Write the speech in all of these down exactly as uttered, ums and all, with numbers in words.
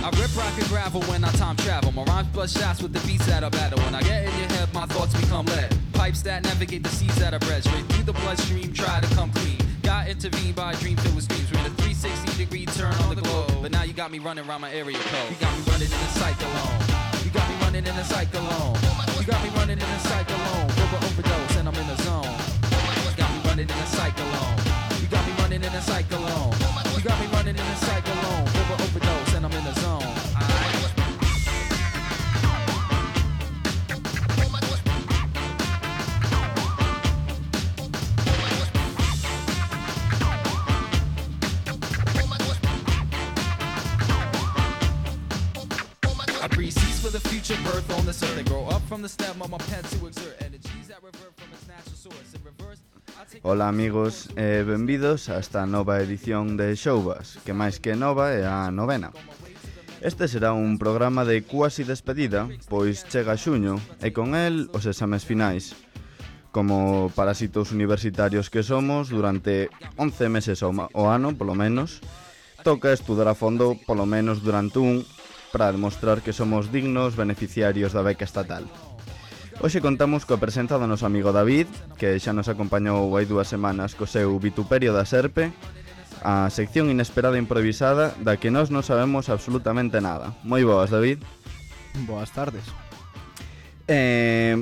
I rip rock and gravel when I time travel. My rhymes bust shots with the beats that I battle. When I get in your head, my thoughts become lead. Pipes that navigate the seas that I bred. Straight through the bloodstream, try to come clean. Got intervened by a dream filled with dreams. We're in a three sixty degree turn on the globe. But now you got me running around my area code. You got me running in a cyclone. You got me running in a cyclone. You got me running in a cyclone. Over overdose and I'm in the zone. You got me running in a cyclone. You got me running in a cyclone. You got me running in a cyclone. Over overdose and I'm in the zone. I breathe seeds for the future birth on this earth. They grow up from the stem of my pen to exert energies that revert from its natural source. In reverse, Ola amigos e benvidos a esta nova edición de Showbas, que máis que nova é a novena. Este será un programa de cuasi despedida, pois chega xuño e con el os exames finais. Como parásitos universitarios que somos, durante once meses ao, ao ano, polo menos, toca estudar a fondo polo menos durante un para demostrar que somos dignos beneficiarios da beca estatal. Hoxe contamos coa presenza do noso amigo David, que xa nos acompañou hai dúas semanas co seu Vituperio da Serpe, a sección inesperada e improvisada da que nós non sabemos absolutamente nada. Moi boas, David. Boas tardes. Eh,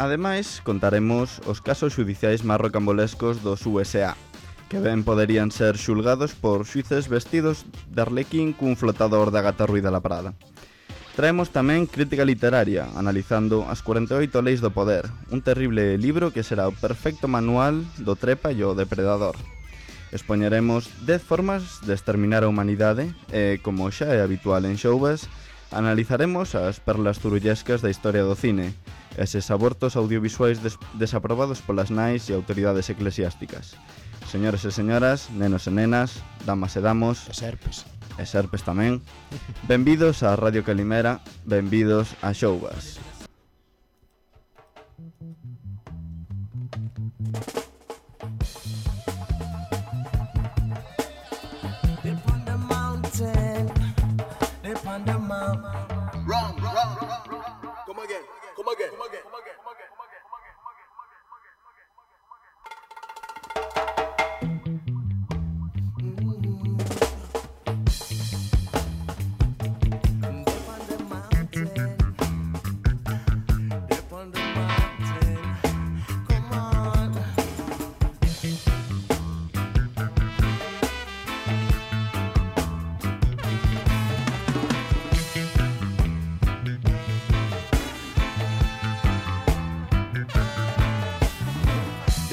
ademais, contaremos os casos xudiciais máis rocambolescos dos U S A, que ben poderían ser xulgados por xuíces vestidos de arlequín cun flotador da Gata Ruiz de la Prada. Traemos tamén crítica literaria, analizando as cuarenta e oito leis do poder, un terrible libro que será o perfecto manual do trepa e o depredador. Expoñeremos dez formas de exterminar a humanidade e, como xa é habitual en Showbas, analizaremos as perlas zurullescas da historia do cine, eses abortos audiovisuais des- desaprobados polas nais e autoridades eclesiásticas. Señores e señoras, nenos e nenas, damas e damos... E serpes. E serpes tamén. Benvidos a Radio Calimera, benvidos a Showbas. Wrong, wrong, wrong. Come again, come again, come again, come again, come again, come again, come again, come again.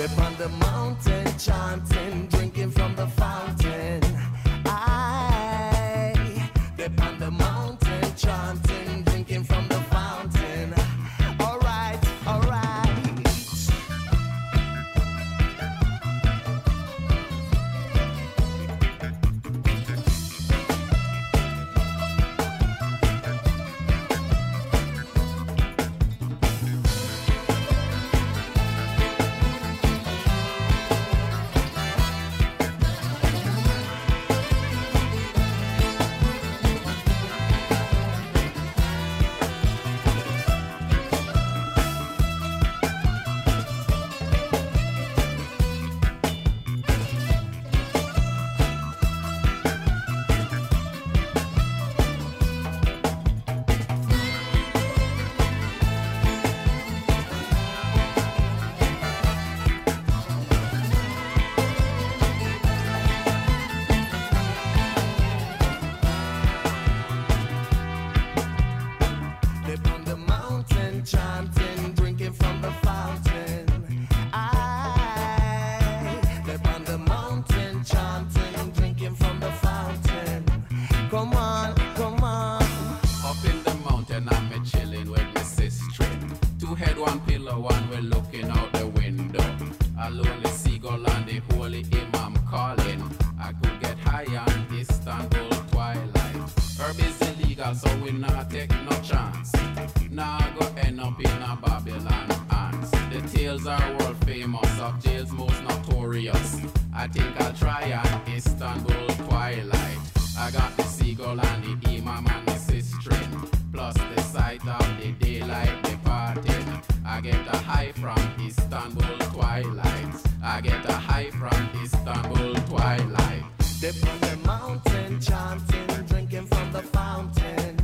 Upon the mountain, chanting, drinking from the fountain. I, upon the mountain, chanting, drinking from the fountain. All right, all right. I think I'll try an Istanbul twilight. I got the seagull Paul and the imam and the sistering, plus the sight of the daylight departing. I get a high from Istanbul twilight. I get a high from Istanbul twilight. Dip on the mountain, chanting, drinking from the fountain.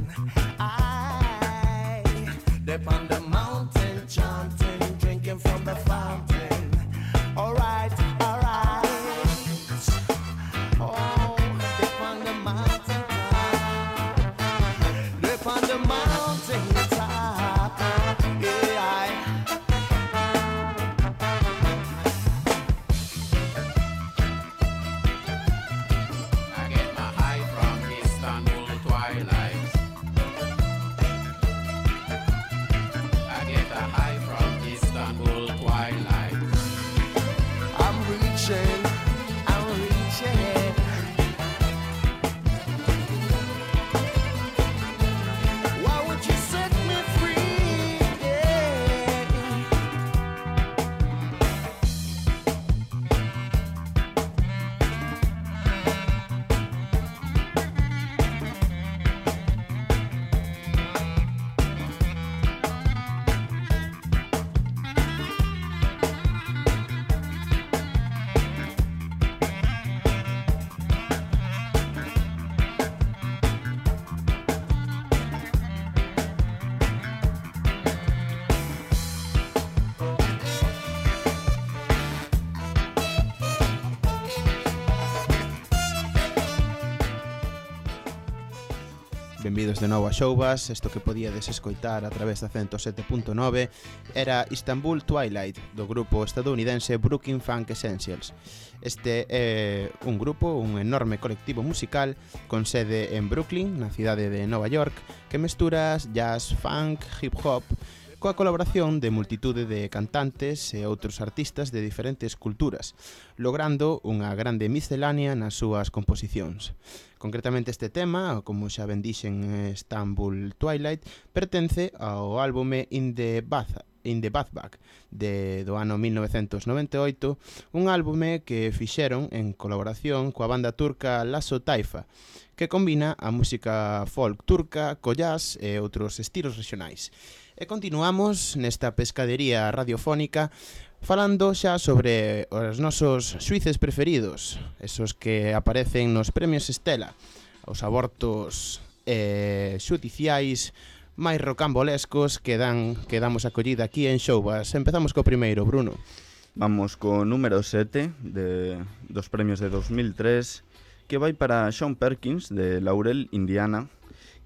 I dip on the mountain, chanting, drinking from the fountain. Alright, alright. Oh, dip on the mountain top. Dip on the mountain top. Yeah. I get my high from Istanbul twilight. I get a high from Istanbul twilight. I'm reaching, I'm reaching. Why would you set me free? Yeah. Benvidos de novo a Showbas. Isto que podíades escoitar a través da ciento sete punto nove era Istanbul Twilight, do grupo estadounidense Brooklyn Funk Essentials. Este é un grupo, un enorme colectivo musical con sede en Brooklyn, na cidade de Nova York, que mestura jazz, funk, hip hop, coa colaboración de multitude de cantantes e outros artistas de diferentes culturas, logrando unha grande miscelánea nas súas composicións. Concretamente este tema, como xa ben dixen, Istanbul Twilight, pertence ao álbume In the Bath, In the Bathback de, do ano mil novecentos noventa e oito, un álbume que fixeron en colaboración coa banda turca Lasso Taifa, que combina a música folk turca co jazz e outros estilos regionais. E continuamos nesta pescadería radiofónica falando xa sobre os nosos suíces preferidos, esos que aparecen nos premios Estela, os abortos eh, xudiciais máis rocambolescos que dan que damos acollida aquí en Showbas. Empezamos co primeiro, Bruno. Vamos co número sete de, dos premios de dos mil tres, que vai para Sean Perkins de Laurel, Indiana,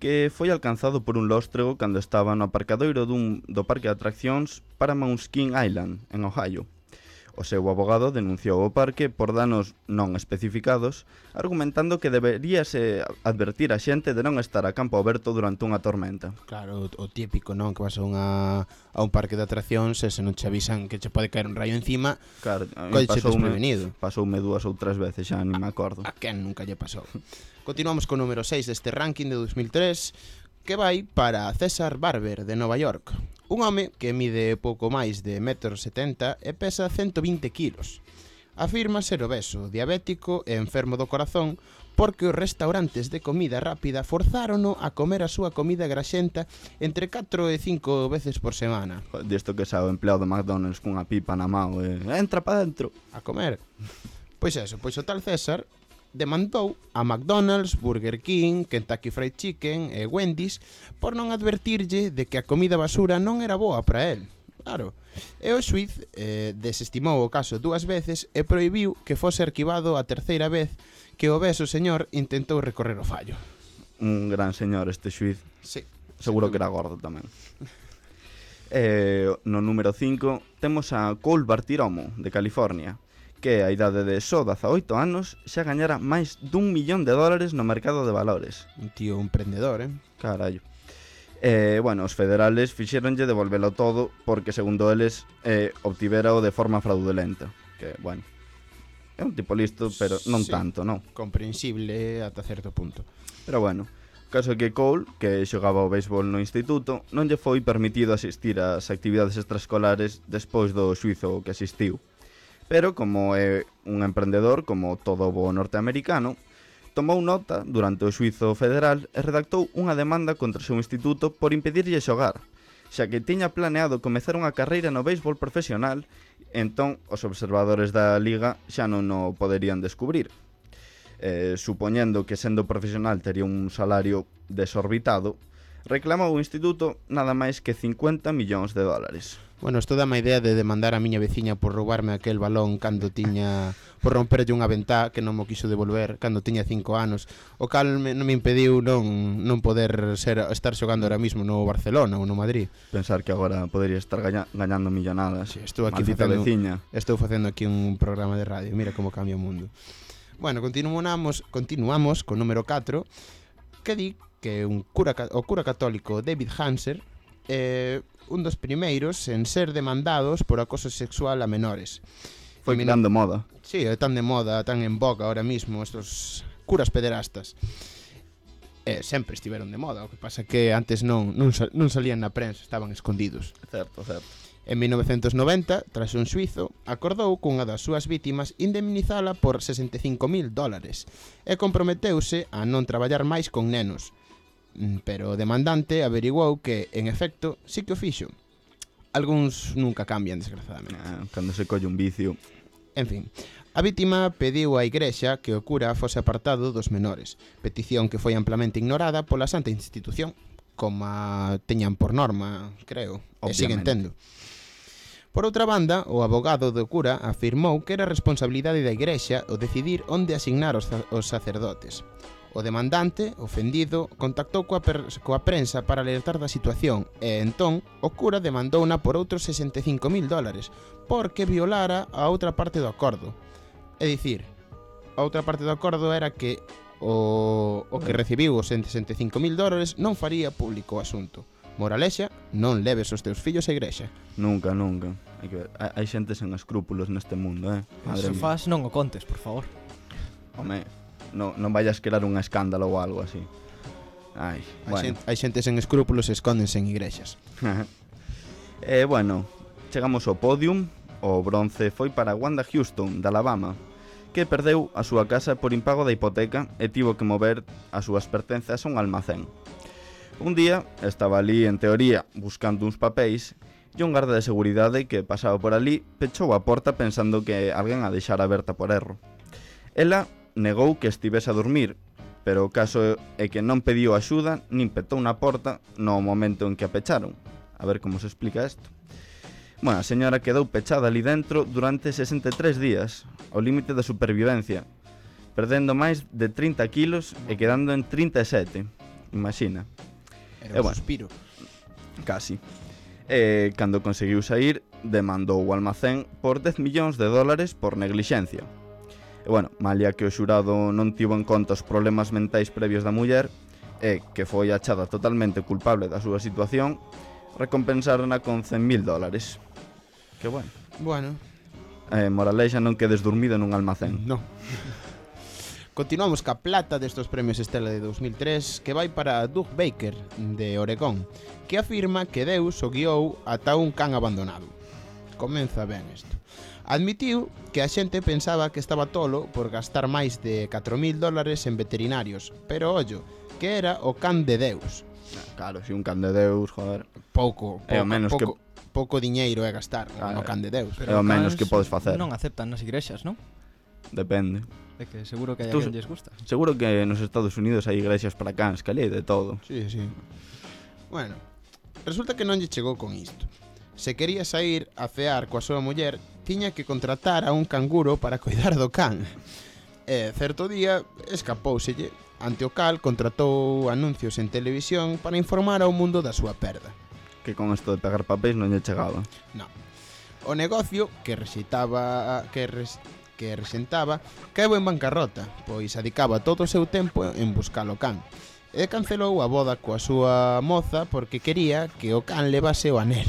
que foi alcanzado por un lóstrego cando estaba no aparcadoiro dun, do parque de atraccións Paramount King Island, en Ohio. O seu abogado denunciou o parque por danos non especificados, argumentando que deberíase advertir a xente de non estar a campo aberto durante unha tormenta. Claro, o, o típico, non? Que vas a, unha, a un parque de atraccións e se non che avisan que che pode caer un rayo encima, Claro, coiche desprevenido. Pasoume dúas ou tres veces, xa non me acordo. A quen nunca lle pasou. Continuamos co número seis deste ranking de dos mil tres, que vai para César Barber de Nova York. Un home que mide pouco máis de un metro setenta e pesa ciento vinte kilos. Afirma ser obeso, diabético e enfermo do corazón porque os restaurantes de comida rápida forzárono a comer a súa comida graxenta entre catro e cinco veces por semana. Disto que xa o empleado do McDonald's cunha pipa na mão e entra pa dentro a comer. Pois eso, pois o tal César demandou a McDonald's, Burger King, Kentucky Fried Chicken e Wendy's por non advertirlle de que a comida basura non era boa para el. Claro. E o xuiz eh, desestimou o caso dúas veces e prohibiu que fose arquivado a terceira vez que o obeso señor intentou recorrer o fallo. Un gran señor este xuiz. Sí. Seguro que era gordo tamén. eh, no número cinco temos a Cole Bartiromo de California, que a idade de só dezaoito anos xa gañara máis dun millón de dólares no mercado de valores. Un tío emprendedor, eh? Carallo. Eh, bueno, os federales fixéronlle devolvelo todo porque, segundo eles, eh, obtiverao de forma fraudulenta. Que, bueno, é un tipo listo, pero non Sí. tanto, non? Comprensible ata certo punto. Pero bueno, o caso é que Cole, que xogaba o béisbol no instituto, non lle foi permitido asistir ás actividades extraescolares despois do xuizo que asistiu. Pero como é un emprendedor, como todo bo norteamericano, tomou nota durante o xuízo federal e redactou unha demanda contra o seu instituto por impedirlle xogar, xa que tiña planeado comezar unha carreira no béisbol profesional, entón os observadores da liga xa non o poderían descubrir. Eh, supoñendo que sendo profesional tería un salario desorbitado, reclamou o instituto nada máis que cincuenta millóns de dólares. Bueno, isto dá má idea de demandar a miña veciña por roubarme aquel balón cando tiña... por romperlle unha ventá que non mo quiso devolver cando tiña cinco anos, o cal me, non me impediu non, non poder ser estar xogando ahora mismo no Barcelona ou no Madrid. Pensar que agora podería estar gaña, gañando millonadas. Sí, estou aquí Maldita facendo, veciña. estou facendo aquí un programa de radio. Mira como cambia o mundo. Bueno, continuamos, continuamos con número catro, que di que un cura, o cura católico David Hanser é eh, un dos primeiros en ser demandados por acoso sexual a menores. Foi tan de moda. Sí, é tan de moda, tan en boga ahora mismo estos curas pederastas. Eh, sempre estiveron de moda, o que pasa que antes non, non, sal, non salían na prensa, estaban escondidos. Certo, certo. En mil novecentos noventa, tras un xuizo, acordou cunha das súas vítimas indemnizala por sesenta e cinco mil dólares e comprometeuse a non traballar máis con nenos. Pero o demandante averiguou que, en efecto, sí que o fixo. Algúns nunca cambian, desgraciadamente. Ah, cando se colle un vicio. En fin, a vítima pediu á igrexa que o cura fose apartado dos menores, petición que foi amplamente ignorada pola santa institución, como teñan por norma, creo, e siguen tendo. Por outra banda, o abogado do cura afirmou que era responsabilidade da igrexa o decidir onde asignar os, os sacerdotes. O demandante, ofendido, contactou coa, per, coa prensa para alertar da situación e entón o cura demandouna por outros sesenta e cinco mil dólares porque violara a outra parte do acordo. É dicir, a outra parte do acordo era que o, o que recibiu os sesenta e cinco mil dólares non faría público o asunto. Moralexa, non leves os teus fillos á igrexa. Nunca, nunca. Hai que ver. Hai xente sen escrúpulos neste mundo, eh? Se faz, non o contes, por favor. Home, no, non vayas crear un escándalo ou algo así. Ai, Hai, bueno. xente, hai xente sen escrúpulos e escóndense en igrexas. E, eh, bueno, chegamos ao podium. O bronce foi para Wanda Houston, de Alabama, que perdeu a súa casa por impago da hipoteca e tivo que mover as súas pertenzas a un almacén. Un día estaba ali, en teoría, buscando uns papéis e un garda de seguridade que pasaba por ali pechou a porta pensando que alguén a deixara aberta por erro. Ela negou que estivese a dormir, pero o caso é que non pediu axuda nin petou na porta no momento en que a pecharon. A ver como se explica isto. Bueno, a señora quedou pechada ali dentro durante sesenta e tres días, ao límite da supervivencia, perdendo máis de trinta kilos e quedando en trinta e sete. Imagina. Era un bueno. suspiro. Casi. E cando conseguiu sair, demandou o almacén por dez millóns de dólares por neglixencia. E bueno, malia que o xurado non tivo en conta os problemas mentais previos da muller e que foi achada totalmente culpable da súa situación, recompensárona con cen mil dólares. Que bueno. Bueno, Eh, moralexa, non quedes dormido nun almacén. no. Continuamos ca plata destos premios Estela de dos mil tres, que vai para Doug Baker, de Oregón, que afirma que Deus o guiou ata un can abandonado. Comeza ben isto. Admitiu que a xente pensaba que estaba tolo por gastar máis de catro mil dólares en veterinarios, pero ollo, que era o can de Deus. Claro, si un can de Deus, joder. Pouco, pouco, É o menos pouco, pouco diñeiro é gastar Claro. no can de Deus. É o menos que podes facer. Non aceptan nas igrexas, non? Depende. É que seguro que hai Tú- alguén lles gusta. Seguro que nos Estados Unidos hai igrexas para cans, que ali hai de todo. Sí, sí. Bueno, resulta que non lle chegou con isto. Se quería sair a cear coa súa muller, tiña que contratar a un canguro para coidar do can. E certo día escapouselle, ante o cal contratou anuncios en televisión para informar ao mundo da súa perda. Que con isto de pegar papéis non lle chegaba. No. O negocio que rexitaba que res, que resentaba caeu en bancarrota, pois adicaba todo o seu tempo en buscar o can. E cancelou a boda coa súa moza porque quería que o can levase o anel.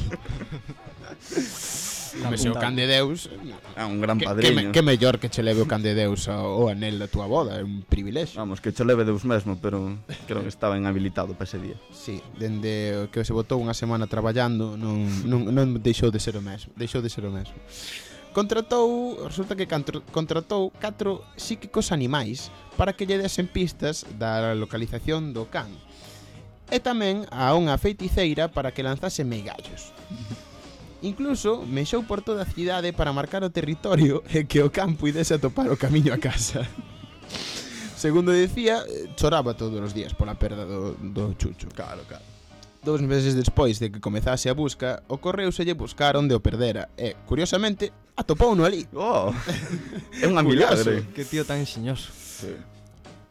Home, se o can de Deus, É un gran que, que, padriño. me, que mellor que che leve o can de Deus ao, o anel da túa boda, é un privilexio. Vamos, que cho leve Deus mesmo, pero creo que estaba inhabilitado para ese día. Sí, dende que se botou unha semana traballando non, non, non deixou de ser o mesmo, deixou de ser o mesmo. contratou, resulta que cantro, contratou catro psíquicos animais para que lle desen pistas da localización do can. E tamén a unha feiticeira para que lanzase meigallos. Incluso mexou por toda a cidade para marcar o territorio e que o can puidese atopar o camiño a casa. Segundo dicía, choraba todos os días pola perda do, do chucho. Claro, claro. Dous meses despois de que comezase a busca, ocorreuselle buscar onde o perdera e, curiosamente, atopouno ali. Oh, é un Curioso. milagre. Que tío tan enxeñoso. Sí.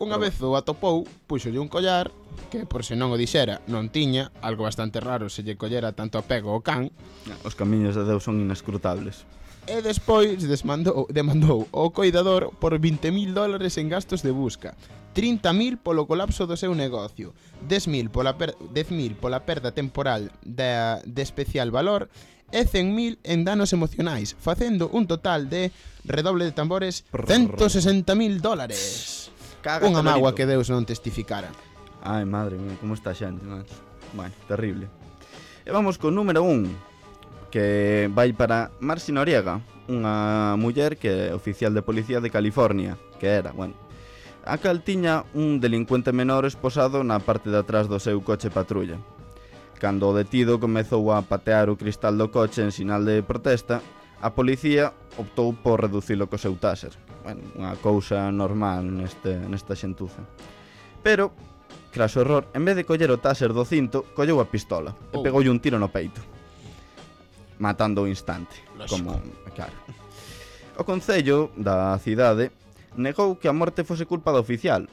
Unha vez o atopou, puxolle un collar que, por se non o dixera, non tiña, algo bastante raro se lle collera tanto apego ao can, Os camiños de Deus son inescrutables. e despois desmandou, demandou o coidador por vinte mil dólares en gastos de busca, trinta mil polo colapso do seu negocio, dez mil pola, per, dez mil pola perda temporal de, de especial valor e cen mil en danos emocionais, facendo un total de, redoble de tambores, ciento sesenta mil dólares. Cágate, Unha mágoa Lorito. que Deus non testificara. Ai, madre mía, como está a xente, macho. Bueno, terrible. E vamos con número un, que vai para Marci Noriega, unha muller que é oficial de policía de California, que era, bueno, a cal tiña un delincuente menor esposado na parte de atrás do seu coche patrulla. Cando o detido comezou a patear o cristal do coche en sinal de protesta, a policía optou por reducilo co seu taser. Bueno, unha cousa normal neste, nesta xentuza. Pero, tras o error, en vez de coller o taser do cinto, colleu a pistola e Oh. pegoulle un tiro no peito, matando ao instante. Lógico. Como, claro. O concello da cidade negou que a morte fose culpa do oficial,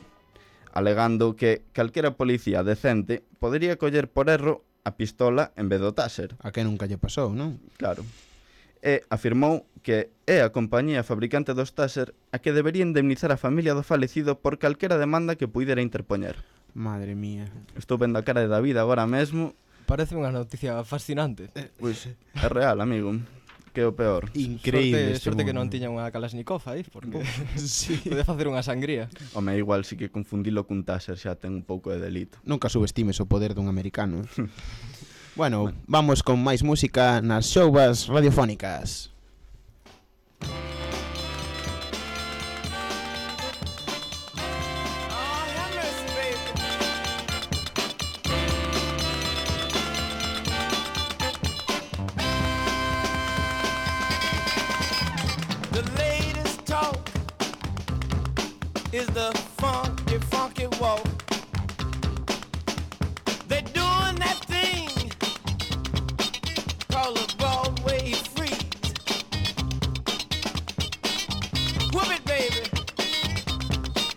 alegando que calquera policía decente podería coller por erro a pistola en vez do taser. A que nunca lle pasou, non? Claro. E afirmou que é a compañía fabricante dos taser a que debería indemnizar a familia do falecido por calquera demanda que puidera interpoñer. Madre mía. Estou vendo a cara de David agora mesmo. Parece unha noticia fascinante. Pois é real, amigo. Que é o peor. Increíble. Sorte, este sorte que non mundo. tiña unha Kalashnikov aí, porque Sí. pode facer unha sangría. Home, igual si que confundilo cun taser xa ten un pouco de delito. Nunca subestimes o poder dun americano. Bueno, vamos con máis música nas xouvas radiofónicas. The latest talk is the funky, funky walk. They're doing that thing called a Broadway freeze. Whoop it, baby.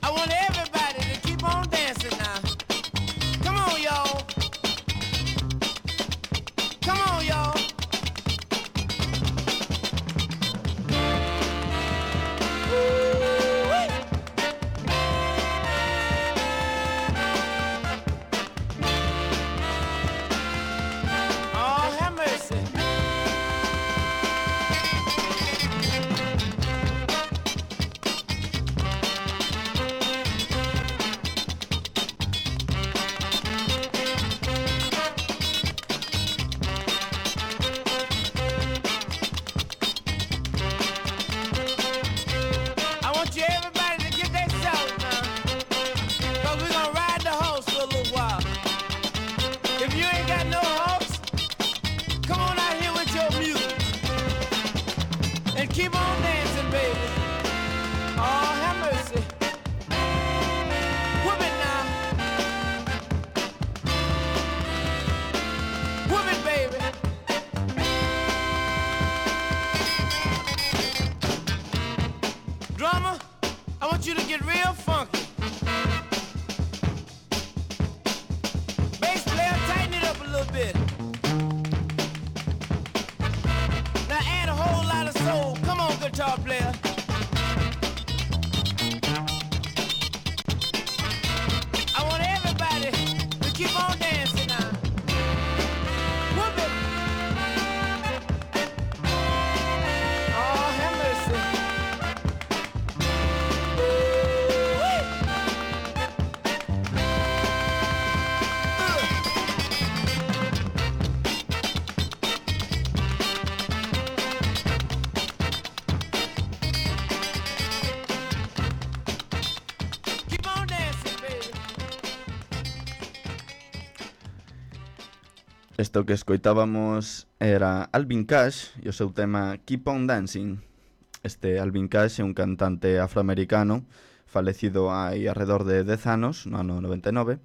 I want everybody to keep on dancing now. Come on, y'all. Come on, y'all. Ooh-wee. Oh, have mercy. I want you everybody to get that shout now. Cause we're gonna ride the horse for a little while. If you ain't got no horse, come on out here with your music. And keep on dancing, baby. Oh, have mercy. Whoop it now. Whoop it, baby. Drummer, I want you to get real funky. Bass player, tighten it up a little bit. Now add a whole lot of soul. Come on, guitar player. I want everybody to keep on dancing now. Whoop it. Oh, have mercy. Isto que escoitábamos era Alvin Cash e o seu tema Keep on Dancing. Este Alvin Cash é un cantante afroamericano falecido hai alrededor de dez anos, no ano noventa e nove,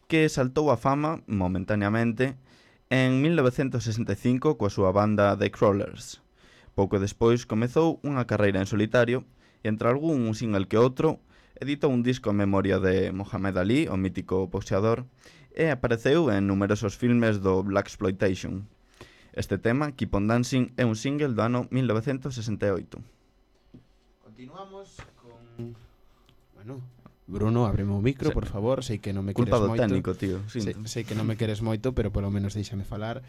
que saltou a fama momentaneamente en mil novecentos sesenta e cinco coa súa banda The Crawlers. Pouco despois comezou unha carreira en solitario e entre algún un single que outro editou un disco en memoria de Muhammad Ali, o mítico boxeador, e apareceu en numerosos filmes do Blaxploitation. Este tema, Keep on Dancing, é un single do ano mil novecentos sesenta e oito. Continuamos con... Bueno, Bruno, ábreme o micro, Sí. por favor. Sei que non me Culpa queres do moito. técnico, tío. Sei, Sinto. sei que non me queres moito, pero polo menos deixame falar.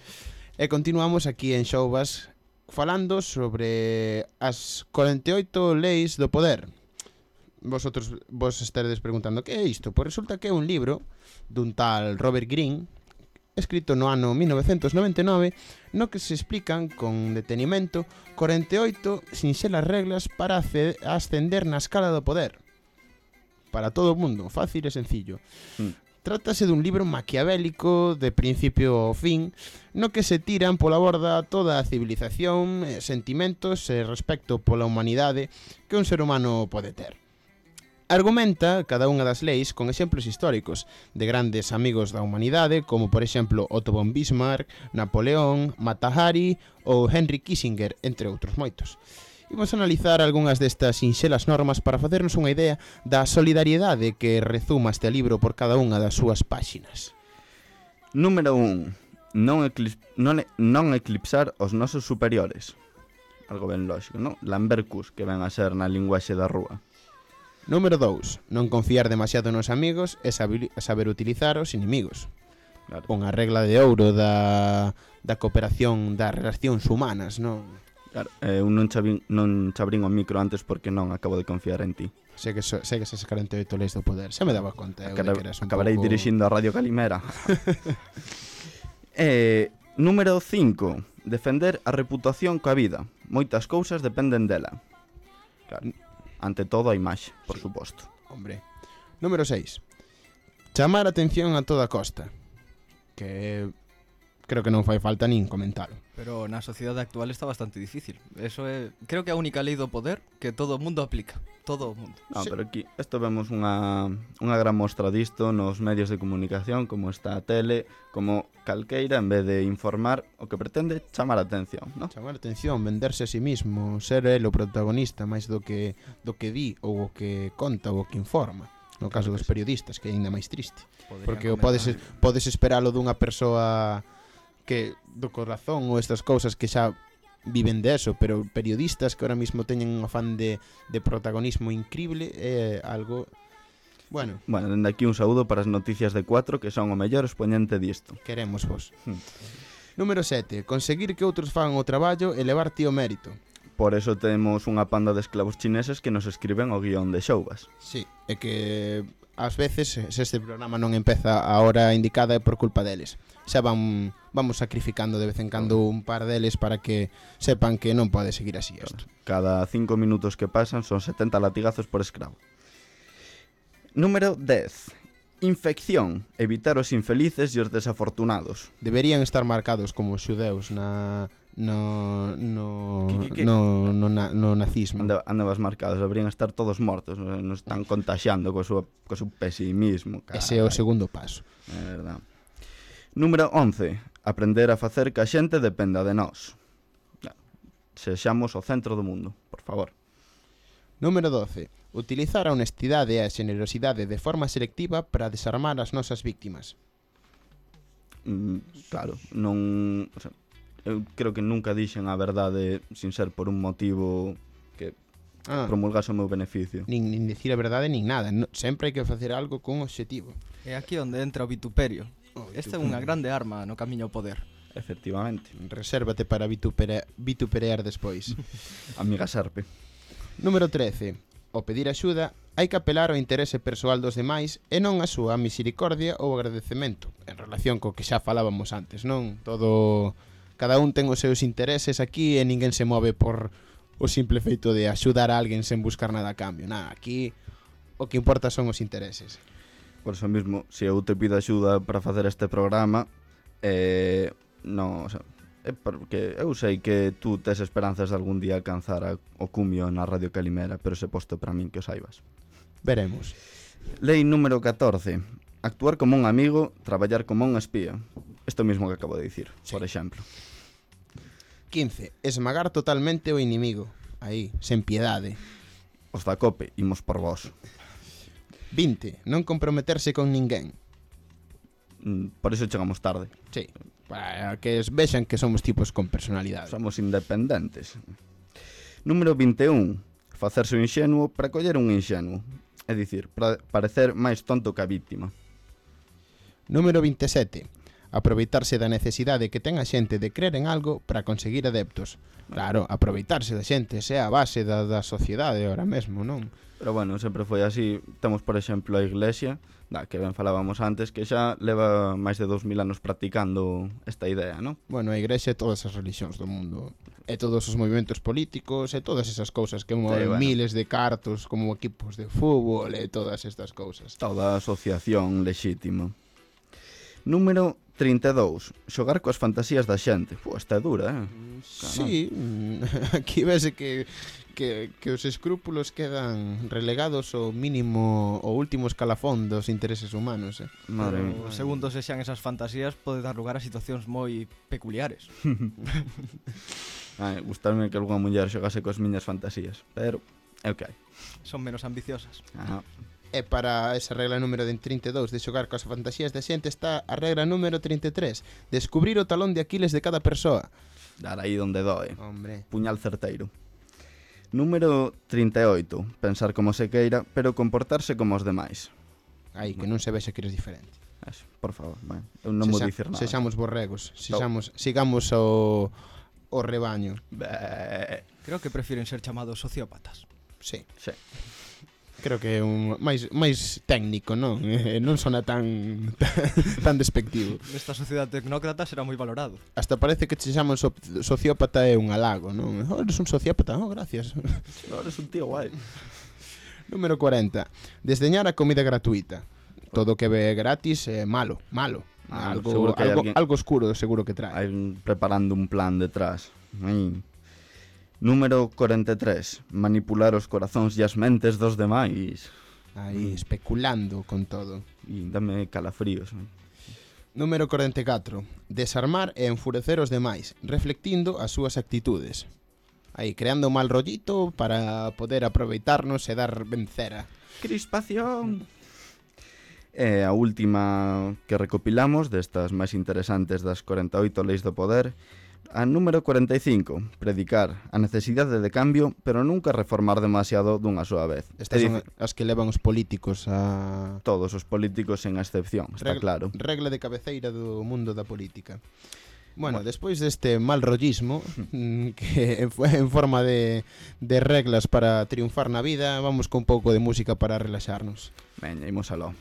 E continuamos aquí en Showbas falando sobre as corenta e oito leis do poder. Vosotros vos estaredes preguntando que é isto? Pois resulta que é un libro dun tal Robert Greene, escrito no ano mil novecentos noventa e nove, no que se explican con detenimento corenta e oito sinxelas reglas para ascender na escala do poder. Para todo o mundo, fácil e sencillo. Mm. Trátase dun libro maquiavélico de principio ao fin, no que se tiran pola borda toda a civilización, sentimentos e respecto pola humanidade que un ser humano pode ter. Argumenta cada unha das leis con exemplos históricos de grandes amigos da humanidade, como por exemplo Otto von Bismarck, Napoleón, Mata Hari ou Henry Kissinger, entre outros moitos. Imos analizar algunhas destas sinxelas normas para facernos unha idea da solidariedade que rezuma este libro por cada unha das súas páxinas. Número un. Non, eclip non, e non eclipsar os nosos superiores. Algo ben lógico, non? Lambercus, que ven a ser na linguaxe da rúa. Número dous. Non confiar demasiado nos amigos e saber, saber utilizar os inimigos. Claro. Unha regla de ouro da, da cooperación das relacións humanas, non? Claro, eh, un non, chabín, non chabrín o micro antes porque non acabo de confiar en ti. Sei que so, sei que esas corenta e oito leis do poder. Xa me daba conta eu de Acara, que eras un acabarei pouco... dirixindo a Radio Calimera. eh, número cinco. Defender a reputación coa vida. Moitas cousas dependen dela. Claro. Ante todo a imaxe, por Sí. suposto. Hombre. Número seis. Chamar a atención a toda costa. Que creo que non fai falta nin comentalo. Pero na sociedade actual está bastante difícil. Eso é, creo que é a única lei do poder que todo o mundo aplica. Todo o mundo. No, Sí. pero aquí isto vemos unha, unha gran mostra disto nos medios de comunicación, como está a tele, como calqueira, en vez de informar, o que pretende chamar a atención, ¿no? Chamar a atención, venderse a sí mismo, ser el o protagonista máis do que do que di ou o que conta ou o que informa. No caso dos periodistas, que é ainda máis triste. Poderían Porque o comezar- podes podes esperalo dunha persoa que do corazón ou estas cousas que xa viven de eso, pero periodistas que ahora mismo teñen un afán de, de protagonismo increíble é algo... Bueno, Bueno, dende aquí un saúdo para as noticias de cuatro, que son o mellor expoñente disto. queremos vos. Hmm. Número sete. Conseguir que outros fagan o traballo e levar ti o mérito. Por eso temos unha panda de esclavos chineses que nos escriben o guión de Showbas. Sí, é que ás veces se este programa non empeza a hora indicada é por culpa deles. Xa van vamos sacrificando de vez en cando un par deles para que sepan que non pode seguir así isto. Cada cinco minutos que pasan son setenta latigazos por escravo. Número dez. Infección. Evitar os infelices e os desafortunados. Deberían estar marcados como xudeus na no no Que- que- que- no no, na, no nazismo. Ande, andabas marcados, deberían estar todos mortos. Nos están contagiando co súa, co seu pesimismo. Ese é o carai. segundo paso. É verdad. Número once. Aprender a facer que a xente dependa de nós. Sexamos o centro do mundo, por favor. Número doce. Utilizar a honestidade e a xenerosidade de forma selectiva para desarmar as nosas víctimas. Mm, claro, non... O sea, eu creo que nunca dixen a verdade sin ser por un motivo que Ah, promulgase o meu beneficio. nin, nin dicir a verdade nin nada. No, sempre hai que facer algo con obxectivo. É aquí onde entra o vituperio. Oh, Esta é unha grande arma no camiño ao poder. Efectivamente. Resérvate para vitupere, vituperear despois. Amiga Serpe. Número trece. Ao pedir axuda, hai que apelar ao interese persoal dos demais e non a súa misericordia ou agradecemento, en relación co que xa falábamos antes, non? Todo... Cada un ten os seus intereses aquí e ninguén se move por o simple feito de axudar a alguén sen buscar nada a cambio. Nada, aquí o que importa son os intereses. Por eso mismo, se eu te pido axuda para facer este programa, Eh, no, o sea, é porque eu sei que tú tes esperanzas de algún día alcanzar a, o cumio na Radio Calimera, pero se posto para min que o saibas. Veremos. Lei número catorce. Actuar como un amigo, traballar como un espía. Isto mismo que acabo de dicir, sí. Por exemplo. quince. Esmagar totalmente o inimigo. Aí, sen piedade. Os da COPE, imos por vos. vinte. Non comprometerse con ninguén. Mm, por iso chegamos tarde. Sí, para que vexan que somos tipos con personalidade. Somos independentes. Número vinte e un. Facerse un inxenuo para coller un inxenuo. É dicir, para parecer máis tonto que a víctima. Número vinte e sete. Aproveitarse da necesidade que ten a xente de crer en algo para conseguir adeptos. Claro, aproveitarse da xente, esa é a base da, da sociedade ahora mesmo, non? Pero bueno, sempre foi así. Temos, por exemplo, a Iglesia, da que ben falábamos antes, que xa leva máis de dous mil anos practicando esta idea, non? Bueno, a Iglesia e todas as religións do mundo, e todos os movimentos políticos, e todas esas cousas que moven bueno. miles de cartos como equipos de fútbol e todas estas cousas. Toda asociación lexítima. Número trinta e dous. Xogar coas fantasías da xente. Pô, esta é dura, eh? Sí, aquí vese que, que, que os escrúpulos quedan relegados ao mínimo, ao último escalafón dos intereses humanos, eh? Madre mía. Pero, segundo se xan esas fantasías, pode dar lugar a situacións moi peculiares. Ai, gustarme que algunha muller xogase coas miñas fantasías, pero é o que hai. Son menos ambiciosas. Ah. E para esa regla número de trinta e dous de xogar coas fantasías da xente está a regla número trinta e tres, descubrir o talón de Aquiles de cada persoa. Dar aí onde doe. Hombre. Puñal certeiro. Número trinta e oito. Pensar como se queira, pero comportarse como os demais. Aí, que non se vexe que eres diferente. Eso, por favor, bueno, eu non vou dicir nada. Sexamos borregos, sexamos, sigamos o, o rebaño. Bé. Creo que prefieren ser chamados sociópatas. Sí. Sí. Creo que é un máis máis técnico, non? Eh, non sona tan tan despectivo. Nesta sociedade tecnócrata será moi valorado. Hasta parece que te chaman so, sociópata é un halago, non? Oh, eres un sociópata, oh, gracias. No, eres un tío guai. Número cuarenta. Desdeñar a comida gratuita. Todo que ve gratis é malo, malo. Ah, algo que algo, alguén... algo oscuro seguro que trae. Hai un, preparando un plan detrás. Ai. Número cuarenta e tres. Manipular os corazóns e as mentes dos demais. Aí, especulando con todo. E dame calafríos. Número cuarenta e catro. Desarmar e enfurecer os demais, reflectindo as súas actitudes. Aí, creando mal rollito para poder aproveitarnos e dar vencera. Crispación. E a última que recopilamos destas máis interesantes das cuarenta e oito leis do poder. A número cuarenta e cinco, predicar a necesidade de cambio, pero nunca reformar demasiado dunha soa vez. Estas son as que levan os políticos a... Todos os políticos sen excepción, está regla, claro. Regla de cabeceira do mundo da política. Bueno, bueno. Despois deste mal rollismo, que foi en forma de, de reglas para triunfar na vida, vamos con un pouco de música para relaxarnos. Veña, imos aló.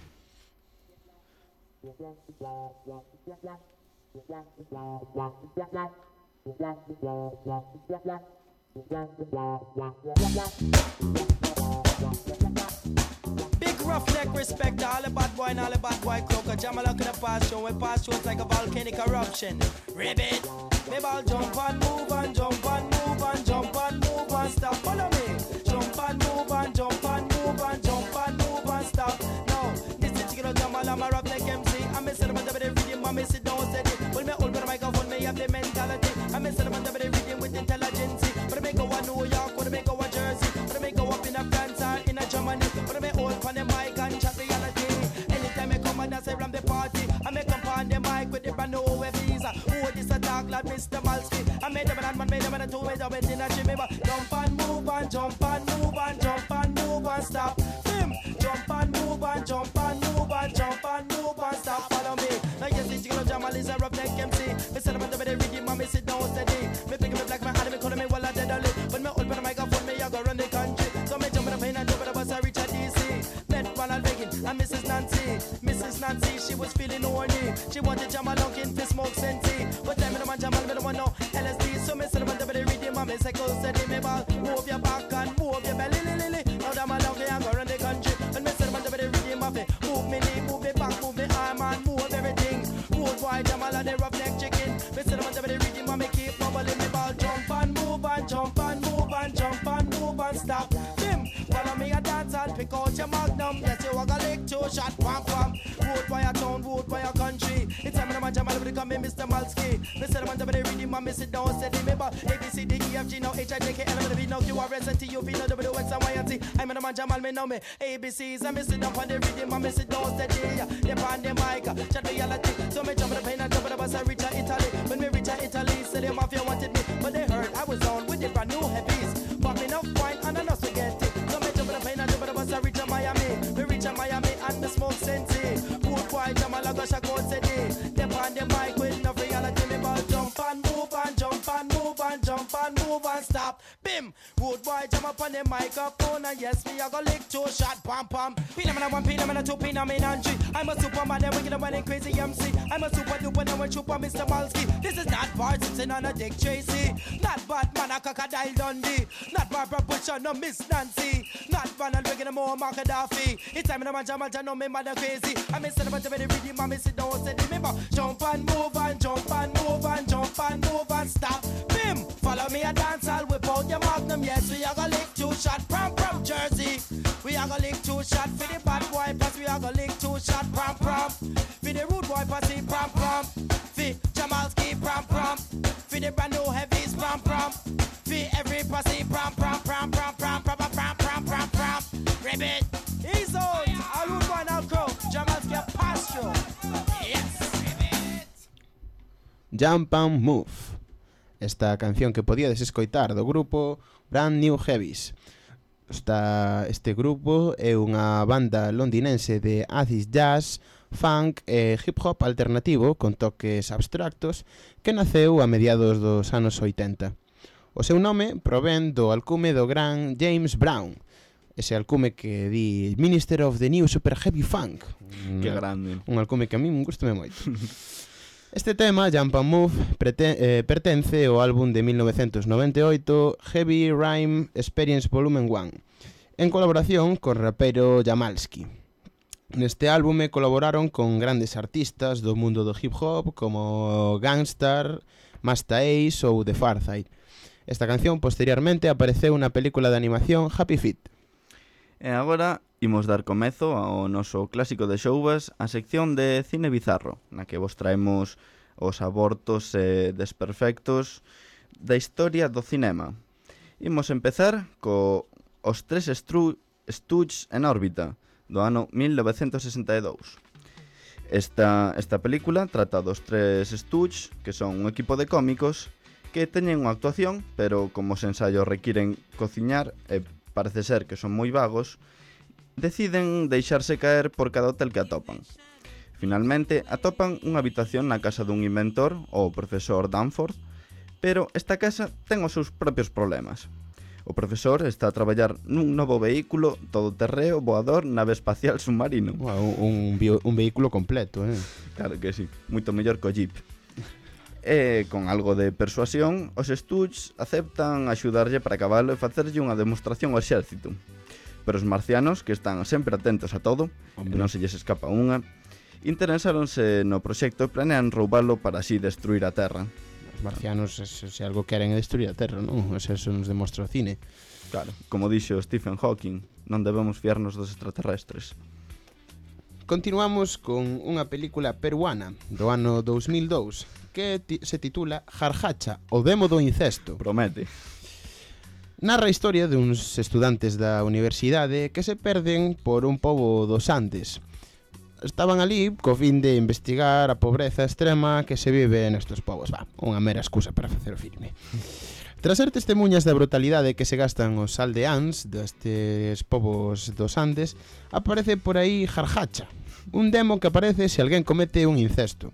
Big roughneck respect to all the bad boy and all the bad boy crook. A jam along in the past show, we pass shows like a volcanic eruption. Ribbit, maybe I'll jump and move and jump and move and jump and move and stop. Follow me, jump and move and jump and move and jump and move and stop. No, this is chicken jam along my roughneck M C. I'm a settlement of the rhythm, I'm a sit down steady. When me hold the microphone, me have the mentality. I'm a settlement of the rhythm with intelligence. But I may go to New York, or I may go to Jersey, but I may go up in a France or in a Germany, but I may hold on the mic and chat reality. Anytime I come and I say from the party, I may come on the mic with the brand new visa. Oh, this a talk like Mister Malski. I made them and man made them and I two made them in a chimney. Jump and move and jump and move and jump and move and stop. Him, jump and move and jump and move and jump and move and stop. Follow me. Now yes, this chicken Jamal is a roughneck M C. Me sell them and the rhythm and me sit down steady. Me pick me black my hand, me call me while I dead only. When me hold the microphone, me I go run the country. So me jump in the plane and jump in the bus, I reach a D C. Met Ronald Reagan and Missus Nancy. Missus Nancy, she was feeling horny. She wanted Jamal Lunkin to smoke senti. But time me no man Jamal, me no want no L S D. So me sell them and the rhythm and me say go steady. Me ball, move your back and move your belly, li, li, li. Now Jamal Lunkin I go run the country. When me sell them and the rhythm of it, move me knee, move me back, move me arm and move everything. Move wide Jamal and the rough shot, pam pam. Road by a town, road by a country. It's time when I'm Jamal become Mister Malski. Mister Man, they read him, I sit down, said remember A B C D E F G now H I J K L M N O P now Q R S and T U V now W X and Y and Z. I'm in a man Jamal, me know me. A B C's, I miss it down on the rhythm, I sit down, said yeah. They on the mic, chat reality. So me jump on the plane and jump on the bus and reach a Italy. When we reach a Italy, say the mafia wanted me, but they heard I was on with the brand new heavies. Popping up wine and I know so get it. So me jump on the plane and jump on the bus and reach a Miami. We reach a Miami and the smoke sensei. Good boy, Jamal, I go shake out, said they on the mic with no reality. Me ball jump and move and jump and move and jump and move and stop. Bim, good boy, jump up on the microphone and yes, me I go lick two shot, pam pam. Pina man a one, pina man a two, pina man and three. I'm a superman, and wicked and crazy M C. I'm a super duper, and we're super Mister Malski. This is not Bart Simpson on a Dick Tracy. Not Batman, a Crocodile Dundee. Not Barbara Bush, no Miss Nancy. Not Ronald Reagan, and more Mark Gaddafi. It's time in a Jamal, I know me mother crazy. I'm a son of a very reading, mommy sit down, said remember. Jump and move and jump and move and jump and move and stop. Bim, follow me a dance, I'll whip out your magnum. Yes, we are gonna lick two shot, prom prom Jersey. We are gonna lick two shot for the bad boy, plus we are gonna lick two shot, prom prom. For the rude boy, pussy, prom prom. For Jamalski, prom prom. For the brand new heavies, prom prom. For every pussy, prom prom, prom prom, prom prom, prom prom, prom prom. Ribbit, he's out. All rude boy now crow. Jamalski a pasture. Yes, ribbit. Jump and Move. Esta canción que podíades escoitar do grupo Brand New Heavies. Esta, este grupo é unha banda londinense de acid jazz, funk e hip hop alternativo con toques abstractos que naceu a mediados dos anos oitenta. O seu nome provén do alcume do gran James Brown, ese alcume que di Minister of the New Super Heavy Funk. Que grande. Un alcume que a mí me gusta moito. Este tema, Jump and Move, prete, eh, pertence ao álbum de mil novecentos noventa e oito Heavy Rhyme Experience Volume one, en colaboración con rapero Jamalski. Neste álbume colaboraron con grandes artistas do mundo do hip hop como Gangstar, Masta Ace ou The Pharcyde. Esta canción posteriormente apareceu na película de animación Happy Feet. E agora imos dar comezo ao noso clásico de Xouvas, a sección de Cine Bizarro, na que vos traemos os abortos e desperfectos da historia do cinema. Imos empezar co Os tres Stru Stooges en órbita, do ano mil novecentos sesenta e dous. Esta, esta película trata dos tres Stooges, que son un equipo de cómicos que teñen unha actuación, pero como os ensaios requiren cociñar e parece ser que son moi vagos, deciden deixarse caer por cada hotel que atopan. Finalmente, atopan unha habitación na casa dun inventor, o profesor Danforth, pero esta casa ten os seus propios problemas. O profesor está a traballar nun novo vehículo todoterreo voador nave espacial submarino. Wow, un, bio, un vehículo completo, eh? Claro que sí, moito mellor co Jeep. E, con algo de persuasión, os Stooges aceptan axudarlle para cabalo e facerlle unha demostración ao exército. Pero os marcianos, que están sempre atentos a todo, Hombre. e non se lles escapa unha, interesáronse no proxecto e planean roubalo para así destruir a Terra. Os marcianos, se, se algo queren é destruir a Terra, non? Eso nos demostra o cine. Claro, como dixo Stephen Hawking, non debemos fiarnos dos extraterrestres. Continuamos con unha película peruana do ano dous mil dous que ti- se titula Jarjacha, o demo do incesto. Promete. Narra a historia duns estudantes da universidade que se perden por un pobo dos Andes. Estaban ali co fin de investigar a pobreza extrema que se vive nestes povos. Va, unha mera excusa para facer o filme. Tras ser testemunhas da brutalidade que se gastan os aldeáns destes povos dos Andes, aparece por aí Jarjacha, un demo que aparece se alguén comete un incesto.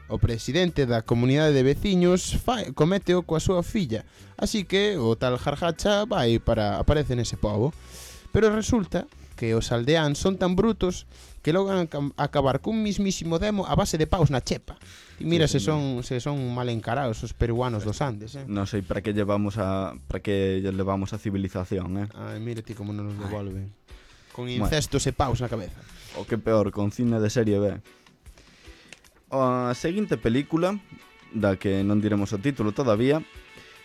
O presidente da comunidade de veciños fai, cométeo coa súa filla, así que o tal Jarjacha vai para aparece nese pobo. Pero resulta que os aldeáns son tan brutos que logran acabar cun mismísimo demo a base de paus na chepa. E mira sí, se son se son mal encarados os peruanos dos Andes, eh. Non sei para que llevamos a para que levamos a civilización, eh. Ai, mira ti como non nos devolven. Con incestos bueno. e paus na cabeza. O que peor, con cine de serie B. A seguinte película, da que non diremos o título todavía,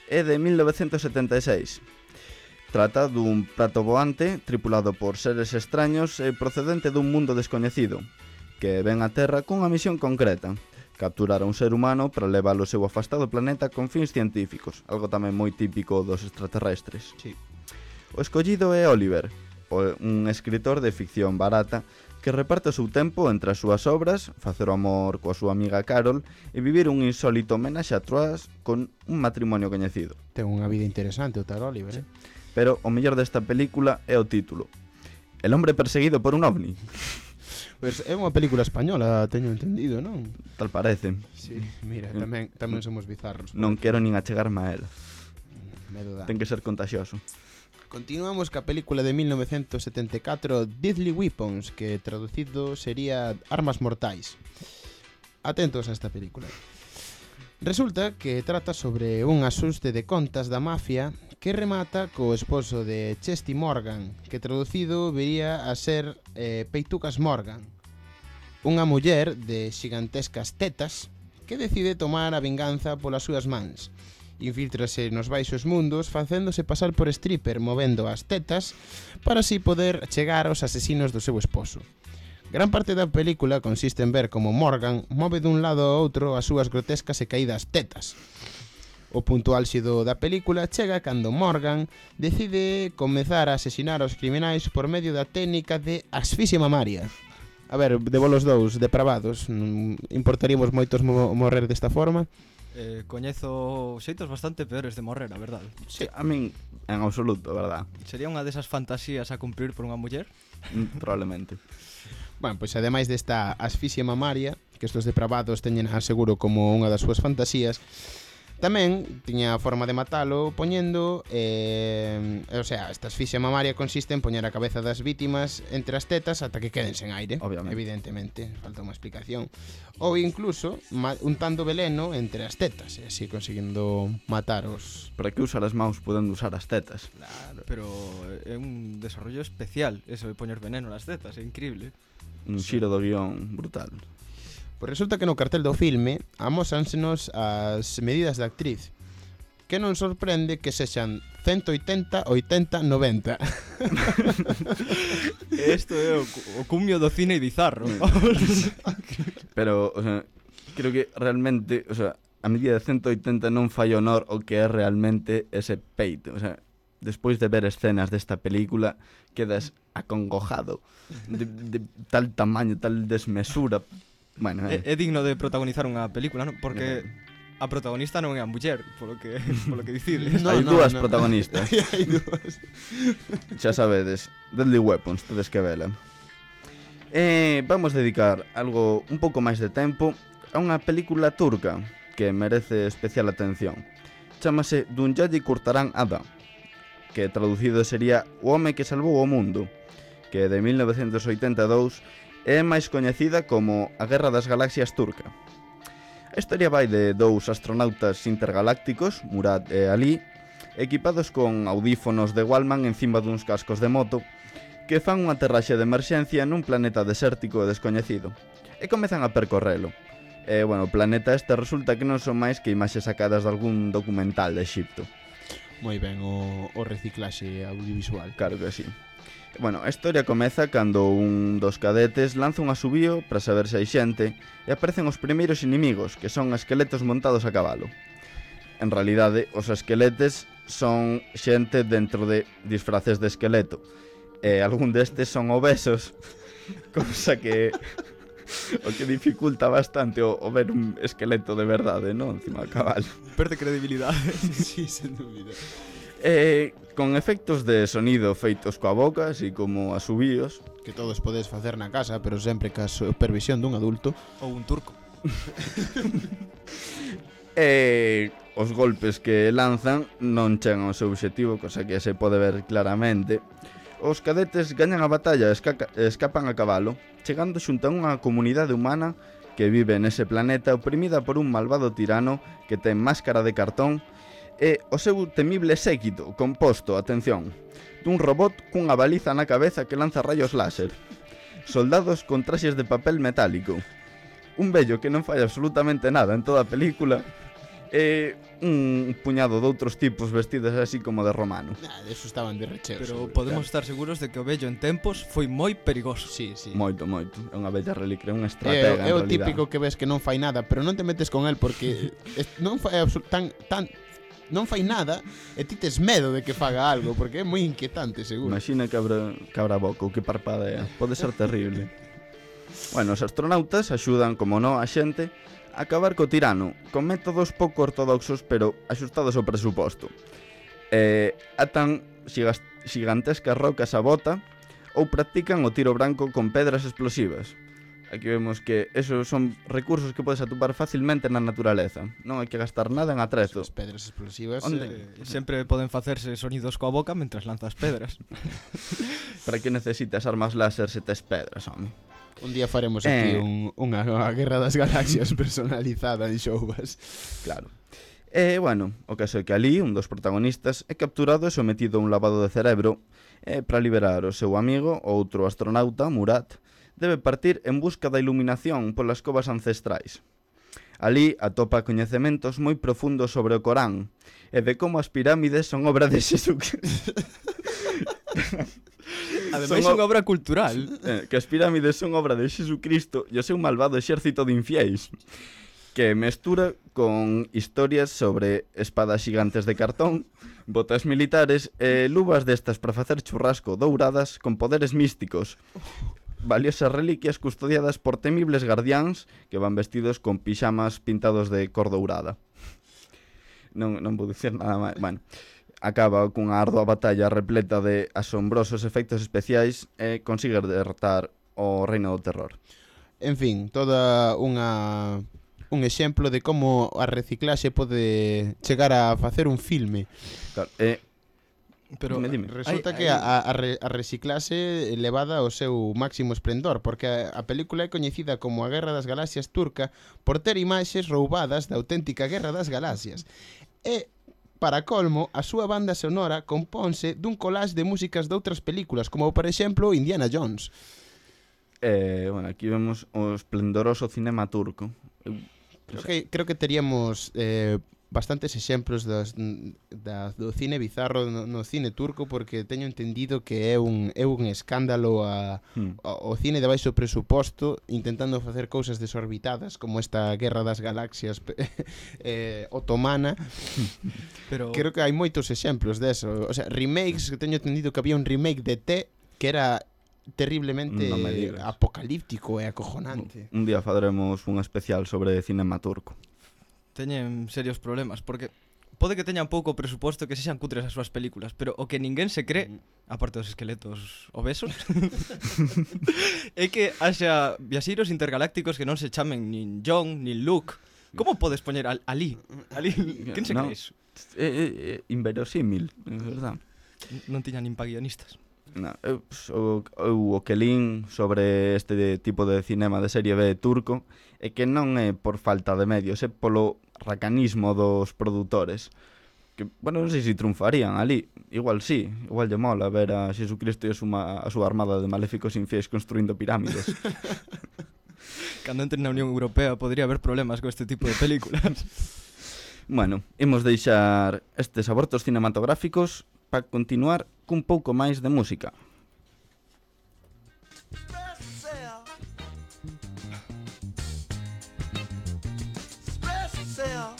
é de mil novecentos setenta e seis. Trata dun prato voante tripulado por seres extraños e procedente dun mundo descoñecido, que ven a Terra cunha misión concreta: capturar a un ser humano para leválo ao seu afastado planeta con fins científicos, algo tamén moi típico dos extraterrestres. Sí. O escollido é Oliver, un escritor de ficción barata que reparte o seu tempo entre as súas obras, facer o amor coa súa amiga Carol e vivir un insólito homenaxe a Troas con un matrimonio coñecido. Ten unha vida interesante o tal Oliver, eh? Pero o mellor desta película é o título: El hombre perseguido por un ovni. Pois é unha película española, teño entendido, non? Tal parece. Sí, mira, tamén tamén somos bizarros. Non quero nin achegarme a ela. Medo dá. Ten que ser contagioso. Continuamos ca película de mil novecentos setenta e catro, Deadly Weapons, que traducido sería Armas Mortais. Atentos a esta película. Resulta que trata sobre un asuste de contas da mafia que remata co esposo de Chesty Morgan, que traducido vería a ser eh, Peitucas Morgan, unha muller de xigantescas tetas que decide tomar a vinganza polas súas mans. Infiltrase nos baixos mundos facéndose pasar por stripper movendo as tetas para así poder chegar aos asesinos do seu esposo. Gran parte da película consiste en ver como Morgan move dun lado ao outro as súas grotescas e caídas tetas. O punto álxido da película chega cando Morgan decide comezar a asesinar aos criminais por medio da técnica de asfixia mamaria. A ver, de bolos dous, depravados, importaríamos moitos mo morrer desta forma? Eh, coñezo xeitos bastante peores de morrer, a verdade. Sí, a min en absoluto, verdad? Sería unha desas fantasías a cumprir por unha muller? Mm, probablemente. Bueno, pois ademais desta asfixia mamaria, que estos depravados teñen aseguro como unha das súas fantasías, tamén tiña a forma de matalo poñendo, eh, o sea, esta asfixia mamaria consiste en poñer a cabeza das vítimas entre as tetas ata que queden sen aire, obviamente. Evidentemente, falta unha explicación. Ou incluso untando veleno entre as tetas, e así conseguindo matar os... Para que usar as mãos podendo usar as tetas? Claro. Pero é un desarrollo especial eso de poñer veneno nas tetas, é increíble. Un xiro do guión brutal. Pois resulta que no cartel do filme amósansenos as medidas da actriz, que non sorprende que sexan ciento oitenta, oitenta, noventa. Isto é o, o cumio do cine bizarro. Pero, o sea, creo que realmente, o sea, a medida de ciento oitenta non fai honor o que é realmente ese peito. O sea, despois de ver escenas desta película, quedas acongojado de, de tal tamaño, tal desmesura. Bueno, eh. é, é digno de protagonizar unha película, non? Porque a protagonista non é a muller, polo que polo que dicides. No, hai no, dúas no. protagonistas. Hai dúas. Xa sabedes, Deadly Weapons, tedes que vela. Eh, vamos dedicar algo un pouco máis de tempo a unha película turca que merece especial atención. Chámase Dünyayı Kurtaran Adam, que traducido sería O home que salvou o mundo, que de mil novecentos oitenta e dous é máis coñecida como a Guerra das Galaxias turca. A historia vai de dous astronautas intergalácticos, Murad e Ali, equipados con audífonos de Wallman encima duns cascos de moto, que fan unha aterraxe de emerxencia nun planeta desértico e descoñecido, e comezan a percorrelo. E, bueno, o planeta este resulta que non son máis que imaxes sacadas de algún documental de Egipto. Moi ben o, o reciclaxe audiovisual. Claro que sí. Bueno, a historia comeza cando un dos cadetes lanza un asubío para saber se hai xente e aparecen os primeiros inimigos, que son esqueletos montados a cabalo. En realidade, os esqueletes son xente dentro de disfraces de esqueleto, e algún destes son obesos, cousa que o que dificulta bastante o, o ver un esqueleto de verdade, non? Encima do cabalo. Perde credibilidade. Sí, sen dúbida. Eh, con efectos de sonido feitos coa boca, así como asubíos, que todos podes facer na casa, pero sempre ca supervisión dun adulto. Ou un turco. E os golpes que lanzan non chegan ao seu obxectivo, cosa que se pode ver claramente. Os cadetes gañan a batalla e escapan a cabalo, chegando xunto a unha comunidade humana que vive nese planeta oprimida por un malvado tirano que ten máscara de cartón e o seu temible séquito composto, atención, dun robot cunha baliza na cabeza que lanza rayos láser, soldados con traxes de papel metálico, un vello que non fai absolutamente nada en toda a película e un puñado de outros tipos vestidos así como de romano. Ah, de eso estaban de recheo. Pero seguro, podemos estar seguros de que o vello en tempos foi moi perigoso. Sí, sí. Moito, moito. É unha bella reliquia, é unha É, estratega é en o realidad. típico que ves que non fai nada, pero non te metes con el porque es, non fai absol- tan tan non fai nada e ti tes medo de que faga algo porque é moi inquietante, seguro. Imagina que abra, que abra boca ou que parpadea. Pode ser terrible. Bueno, os astronautas axudan, como no, a xente a acabar co tirano, con métodos pouco ortodoxos, pero axustados ao presuposto. E atan xigas, xigantescas rocas a bota ou practican o tiro branco con pedras explosivas. Aquí vemos que esos son recursos que podes atopar facilmente na naturaleza. Non hai que gastar nada en atrezo. As pedras explosivas. Onde? Eh, Sempre poden facerse sonidos coa boca mentras lanzas pedras. Para que necesitas armas láser se tes pedras, home? un día faremos aquí Eh. un, unha, unha Guerra das Galaxias personalizada en Showbas. Claro. E, bueno, o caso é que ali, un dos protagonistas, é capturado e sometido a un lavado de cerebro e, para liberar o seu amigo, o outro astronauta, Murat, debe partir en busca da iluminación polas covas ancestrais. Ali atopa coñecementos moi profundos sobre o Corán e de como as pirámides son obra de Xesucristo. Ademais, Son é unha obra cultural. Eh, que as pirámides son obra de Xesucristo e o seu malvado exército de infiéis, que mestura con historias sobre espadas xigantes de cartón, botas militares e luvas destas para facer churrasco douradas con poderes místicos, valiosas reliquias custodiadas por temibles guardiáns que van vestidos con pixamas pintados de cor dourada. Non, non vou dicir nada máis. Bueno, acaba cunha ardua batalla repleta de asombrosos efectos especiais e consigue derrotar o reino do terror. En fin, toda unha un exemplo de como a reciclaxe pode chegar a facer un filme. Claro, e Pero Dime, dime. Resulta hai- que hai- a, a, re- a reciclaxe levada ao seu máximo esplendor, porque a, a película é coñecida como a Guerra das Galaxias turca por ter imaxes roubadas da auténtica Guerra das Galaxias. E, para colmo, a súa banda sonora compónse dun collage de músicas de outras películas, como, por exemplo, Indiana Jones. Eh, bueno, aquí vemos o esplendoroso cinema turco. Eu, Creo que, creo que teríamos eh, bastantes exemplos das, da, do cine bizarro no, no cine turco, porque teño entendido que é un, é un escándalo a, hmm. a, o cine de baixo presuposto intentando facer cousas desorbitadas como esta Guerra das Galaxias eh, otomana. Pero Creo que hai moitos exemplos deso. O sea, remakes, que teño entendido que había un remake de T que era terriblemente Non me digas. apocalíptico e acojonante. Un día faremos un especial sobre cinema turco. teñen serios problemas, porque pode que teñan pouco presuposto, que sexan cutres as súas películas, pero o que ninguén se cree, aparte dos esqueletos obesos, é que haxa viaxeiros intergalácticos que non se chamen nin John, nin Luke. Como podes poñer al, ali? Ali, quen se No. cree iso? É, é, é inverosímil, é verdad. Non tiñan nin pa guionistas. No, eu, o, eu o que lín sobre este tipo de cinema de serie B turco é que non é por falta de medios, é polo racanismo dos produtores. Que, bueno, non sei se triunfarían ali. Igual sí, igual lle mola ver a Xesucristo e a súa, a súa armada de maléficos infiéis construindo pirámides. Cando entren na Unión Europea podría haber problemas con este tipo de películas. Bueno, imos deixar estes abortos cinematográficos para continuar cun pouco máis de música. Express yourself. Express yourself.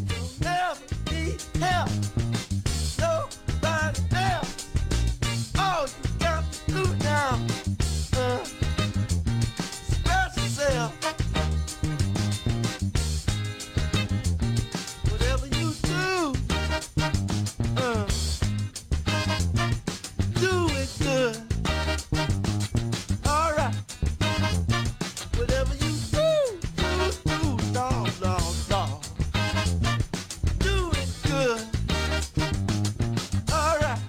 You'll never need help. Nobody else. All you got to do now. Uh, express yourself. Whatever you do, uh, do it good. All right. Whatever you do, do, do, dog, dog, dog. Do it good. All right.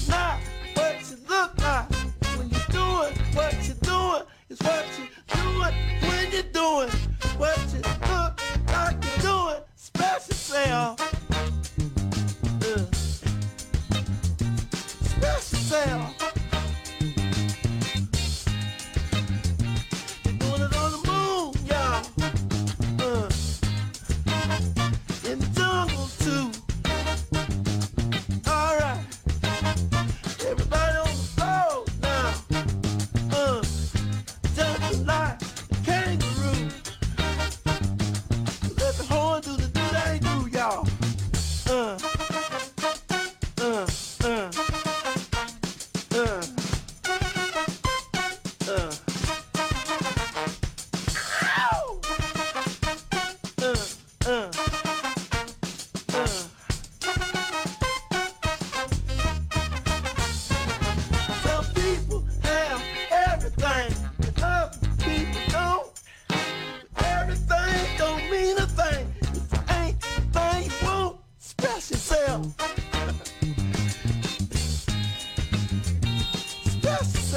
Not what you look like when you're doing what you're doing. It's what you're doing when you're doing what you look like you're doing. Express yourself. Uh. Express yourself.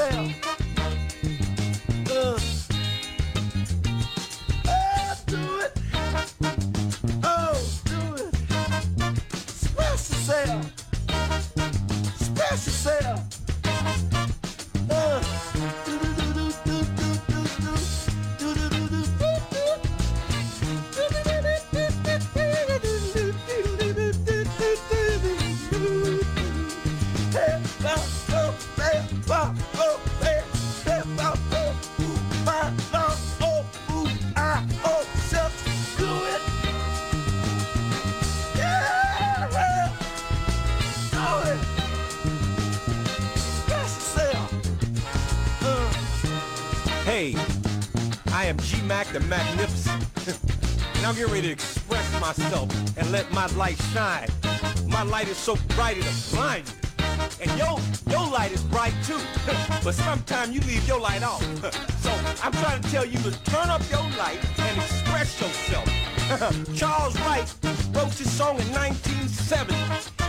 yourself. Uh. Oh, do it. Oh, do it. Express yourself. Express yourself. Uh. Hey, I am G-Mac the Magnificent, and I'm getting ready to express myself and let my light shine. My light is so bright it'll blind you. And your, your light is bright too, but sometimes you leave your light off. So I'm trying to tell you to turn up your light and express yourself. Charles Wright wrote this song in nineteen seventy,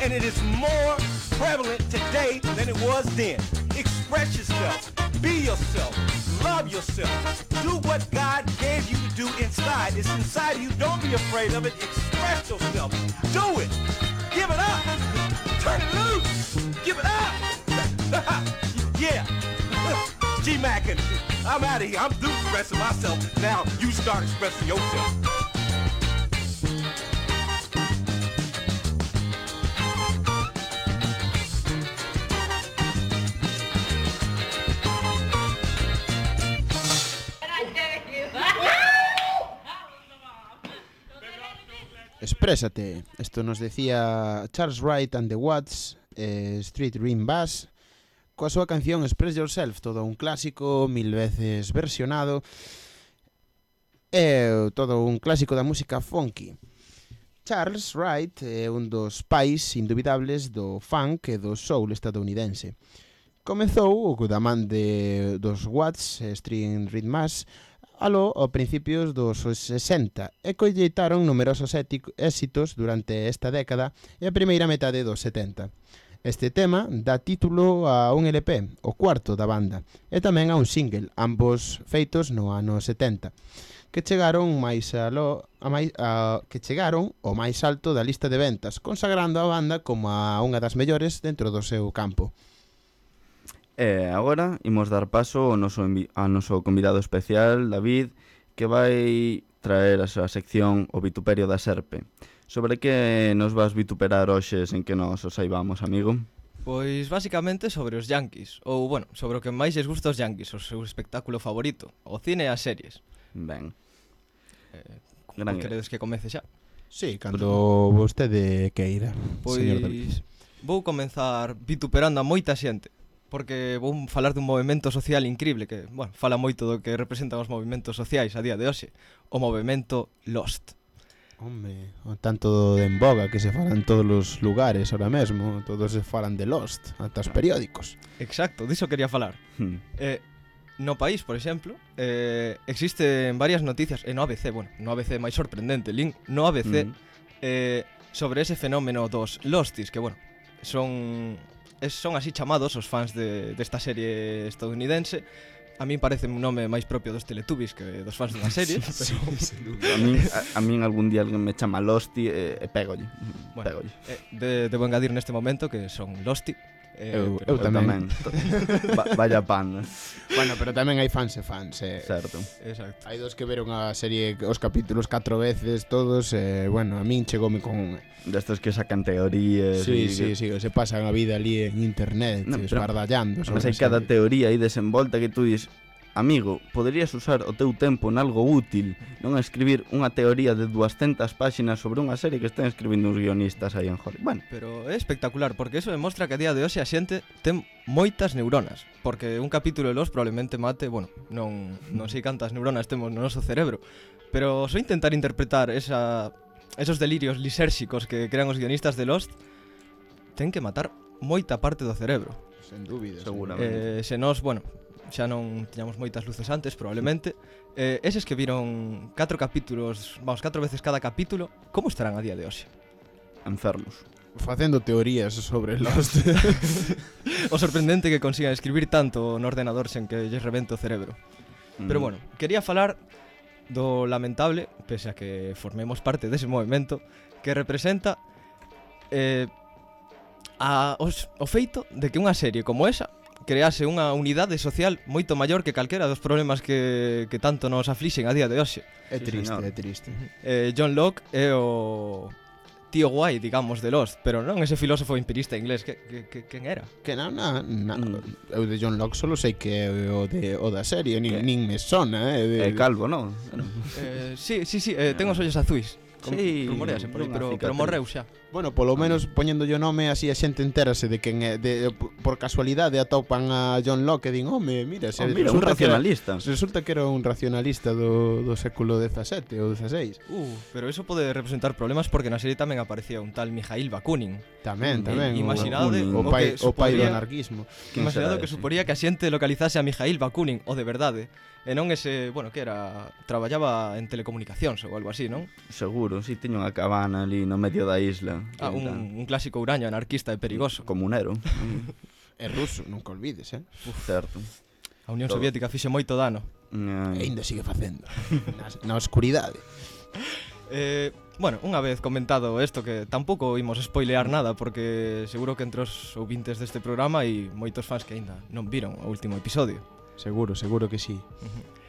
and it is more prevalent today than it was then. Express yourself, be yourself, love yourself, do what God gave you to do inside. It's inside of you, don't be afraid of it, express yourself, do it, give it up, turn it loose, give it up, yeah, G-Mac, and I'm out of here, I'm through expressing myself, now you start expressing yourself. Exprésate. Esto nos decía Charles Wright and the Watts, eh, Street Dream Bass, coa súa canción Express Yourself, todo un clásico, mil veces versionado, e todo un clásico da música funky. Charles Wright é un dos pais indubidables do funk e do soul estadounidense. Comezou da man de dos Watts, Street Dream Bass, aló a principios dos sesenta e colleitaron numerosos éxitos durante esta década e a primeira metade dos setenta. Este tema dá título a un L P, o cuarto da banda, e tamén a un single, ambos feitos no ano setenta, que chegaron máis aló, a máis, a, que chegaron ao máis alto da lista de ventas, consagrando a banda como a unha das mellores dentro do seu campo. E agora imos dar paso ao noso, ao noso convidado especial, David, que vai traer a súa sección O Vituperio da Serpe. Sobre que nos vas vituperar hoxe sen que nos o saibamos, amigo? Pois basicamente sobre os Yankees, ou, bueno, sobre o que máis lles gusta os Yankees, o seu espectáculo favorito, o cine e as series. Ben. Eh, Gran queredes que comece xa? Sí, cando vostede queira, señor David. Pois vou comenzar vituperando a moita xente, porque vou falar dun movimento social increíble que, bueno, fala moito do que representan os movimentos sociais a día de hoxe, o movimento Lost. Hombre, o tanto de en boga que se fala en todos os lugares ahora mesmo, todos se falan de Lost, ata os periódicos. Exacto, diso quería falar. Hmm. Eh, no país, por exemplo, eh, existen varias noticias, e no A B C, bueno, no A B C máis sorprendente, link, no A B C, Mm. eh, sobre ese fenómeno dos Losties, que, bueno, son... son así chamados os fans de, desta serie estadounidense. A min parece un nome máis propio dos Teletubbies que dos fans dunha serie, pero... A min, a, a min algún día alguén me chama Losty e, e pégolle. Bueno, pégolle. eh, de, debo engadir neste momento que son Losty. Eh, Eu- pero- eu tamén. Va, vaya pan, eh. Bueno, pero tamén hai fans e fans, eh. Certo. Exacto. Hai dos que veron a serie, os capítulos catro veces todos, e, eh, bueno, a min chegoume con... Destos que sacan teorías. Sí, e sí, que... sí, que se pasan a vida ali en internet, No, no, pero- esbardallando. Mas hai cada teoría aí desenvolta que tú dis, amigo, poderías usar o teu tempo en algo útil, non a escribir unha teoría de duascentas páxinas sobre unha serie que están escribindo uns guionistas aí en Hollywood. Bueno, Pero é espectacular, porque eso demostra que a día de hoxe a xente ten moitas neuronas. Porque un capítulo de Los probablemente mate, bueno, non, non sei cantas neuronas temos no noso cerebro, pero só intentar interpretar esa, esos delirios lisérxicos que crean os guionistas de Lost, ten que matar moita parte do cerebro. Sen dúbida. seguramente. Eh, se nos, bueno, xa non tiñamos moitas luces antes, probablemente. Eh, eses que viron catro capítulos, vamos, catro veces cada capítulo, como estarán a día de hoxe? Enfermos. facendo teorías sobre Lost. O sorprendente que consigan escribir tanto no ordenador sen que lles rebente o cerebro. Pero Mm. bueno, quería falar do lamentable, pese a que formemos parte dese movimento, que representa eh, a, os, o feito de que unha serie como esa crease unha unidade social moito maior que calquera dos problemas que, que tanto nos aflixen a día de hoxe. É Sí, triste, señor. é triste. Eh, John Locke é o tío guai, digamos, de Lost, pero non ese filósofo empirista inglés, que, que, que quen era? Que na, na, na Mm. eu de John Locke solo sei que é o, de, o da serie, nin, Que? nin me sona, eh, de, É calvo, non? Eh, sí, sí, sí, eh, ten os ollos azuis. Com- Sí, rumorease por aí, unha pero, pero cicatriz. morreu xa. Bueno, polo menos poñéndolle o nome así a xente entérase de quen é, de, por casualidade atopan a John Locke e din, home, mira, se Oh, mira, un resulta que era- racionalista. Resulta que era un racionalista do, do século dezasete ou dezaseis. Uh, pero eso pode representar problemas porque na serie tamén aparecía un tal Mikhail Bakunin. Tamén, Mm, tamén. i- o- imaginade o, o pai, que o pai do suporía- anarquismo. Quen Imaginado será que ese? suporía que a xente localizase a Mikhail Bakunin, o de verdade, e non ese, bueno, que era, traballaba en telecomunicacións ou algo así, non? Seguro, si teño unha cabana ali no medio da isla. Ah, un, un clásico uraño anarquista e perigoso. Comunero. É ruso, nunca olvides, eh? Certo. A Unión Todo. Soviética fixe moito dano. E ainda sigue facendo. na, na oscuridade. Eh, bueno, unha vez comentado isto que tampouco imos spoilear nada porque seguro que entre os ouvintes deste programa hai moitos fans que aínda non viron o último episodio. Seguro, seguro que sí.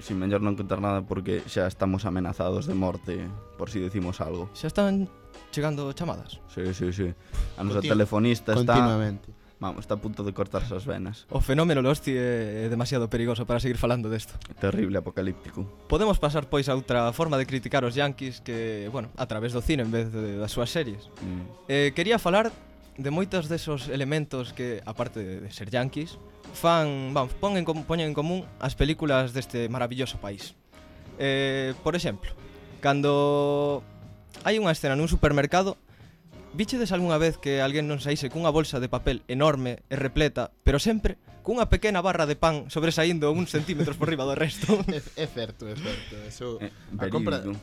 Sin mellor non contar nada porque xa estamos amenazados de morte por si decimos algo. Xa están chegando chamadas. Sí, sí, sí. A nosa Continu- telefonista está, Continuamente. vamos, está a punto de cortarse as venas. O fenómeno Losti é demasiado perigoso para seguir falando desto. Terrible, apocalíptico. Podemos pasar pois a outra forma de criticar os yankees que, bueno, a través do cine en vez de, das súas series. Mm. Eh, quería falar de moitos desos elementos que, aparte de, de ser yankees, fan, vamos, pon en, com- poñen en común as películas deste maravilloso país. Eh, por exemplo, cando hai unha escena nun supermercado, víchedes algunha vez que alguén non saíse cunha bolsa de papel enorme e repleta, pero sempre cunha pequena barra de pan sobresaindo uns centímetros por riba do resto? É, é certo, é certo. Eso, Eh, a compra... verídico.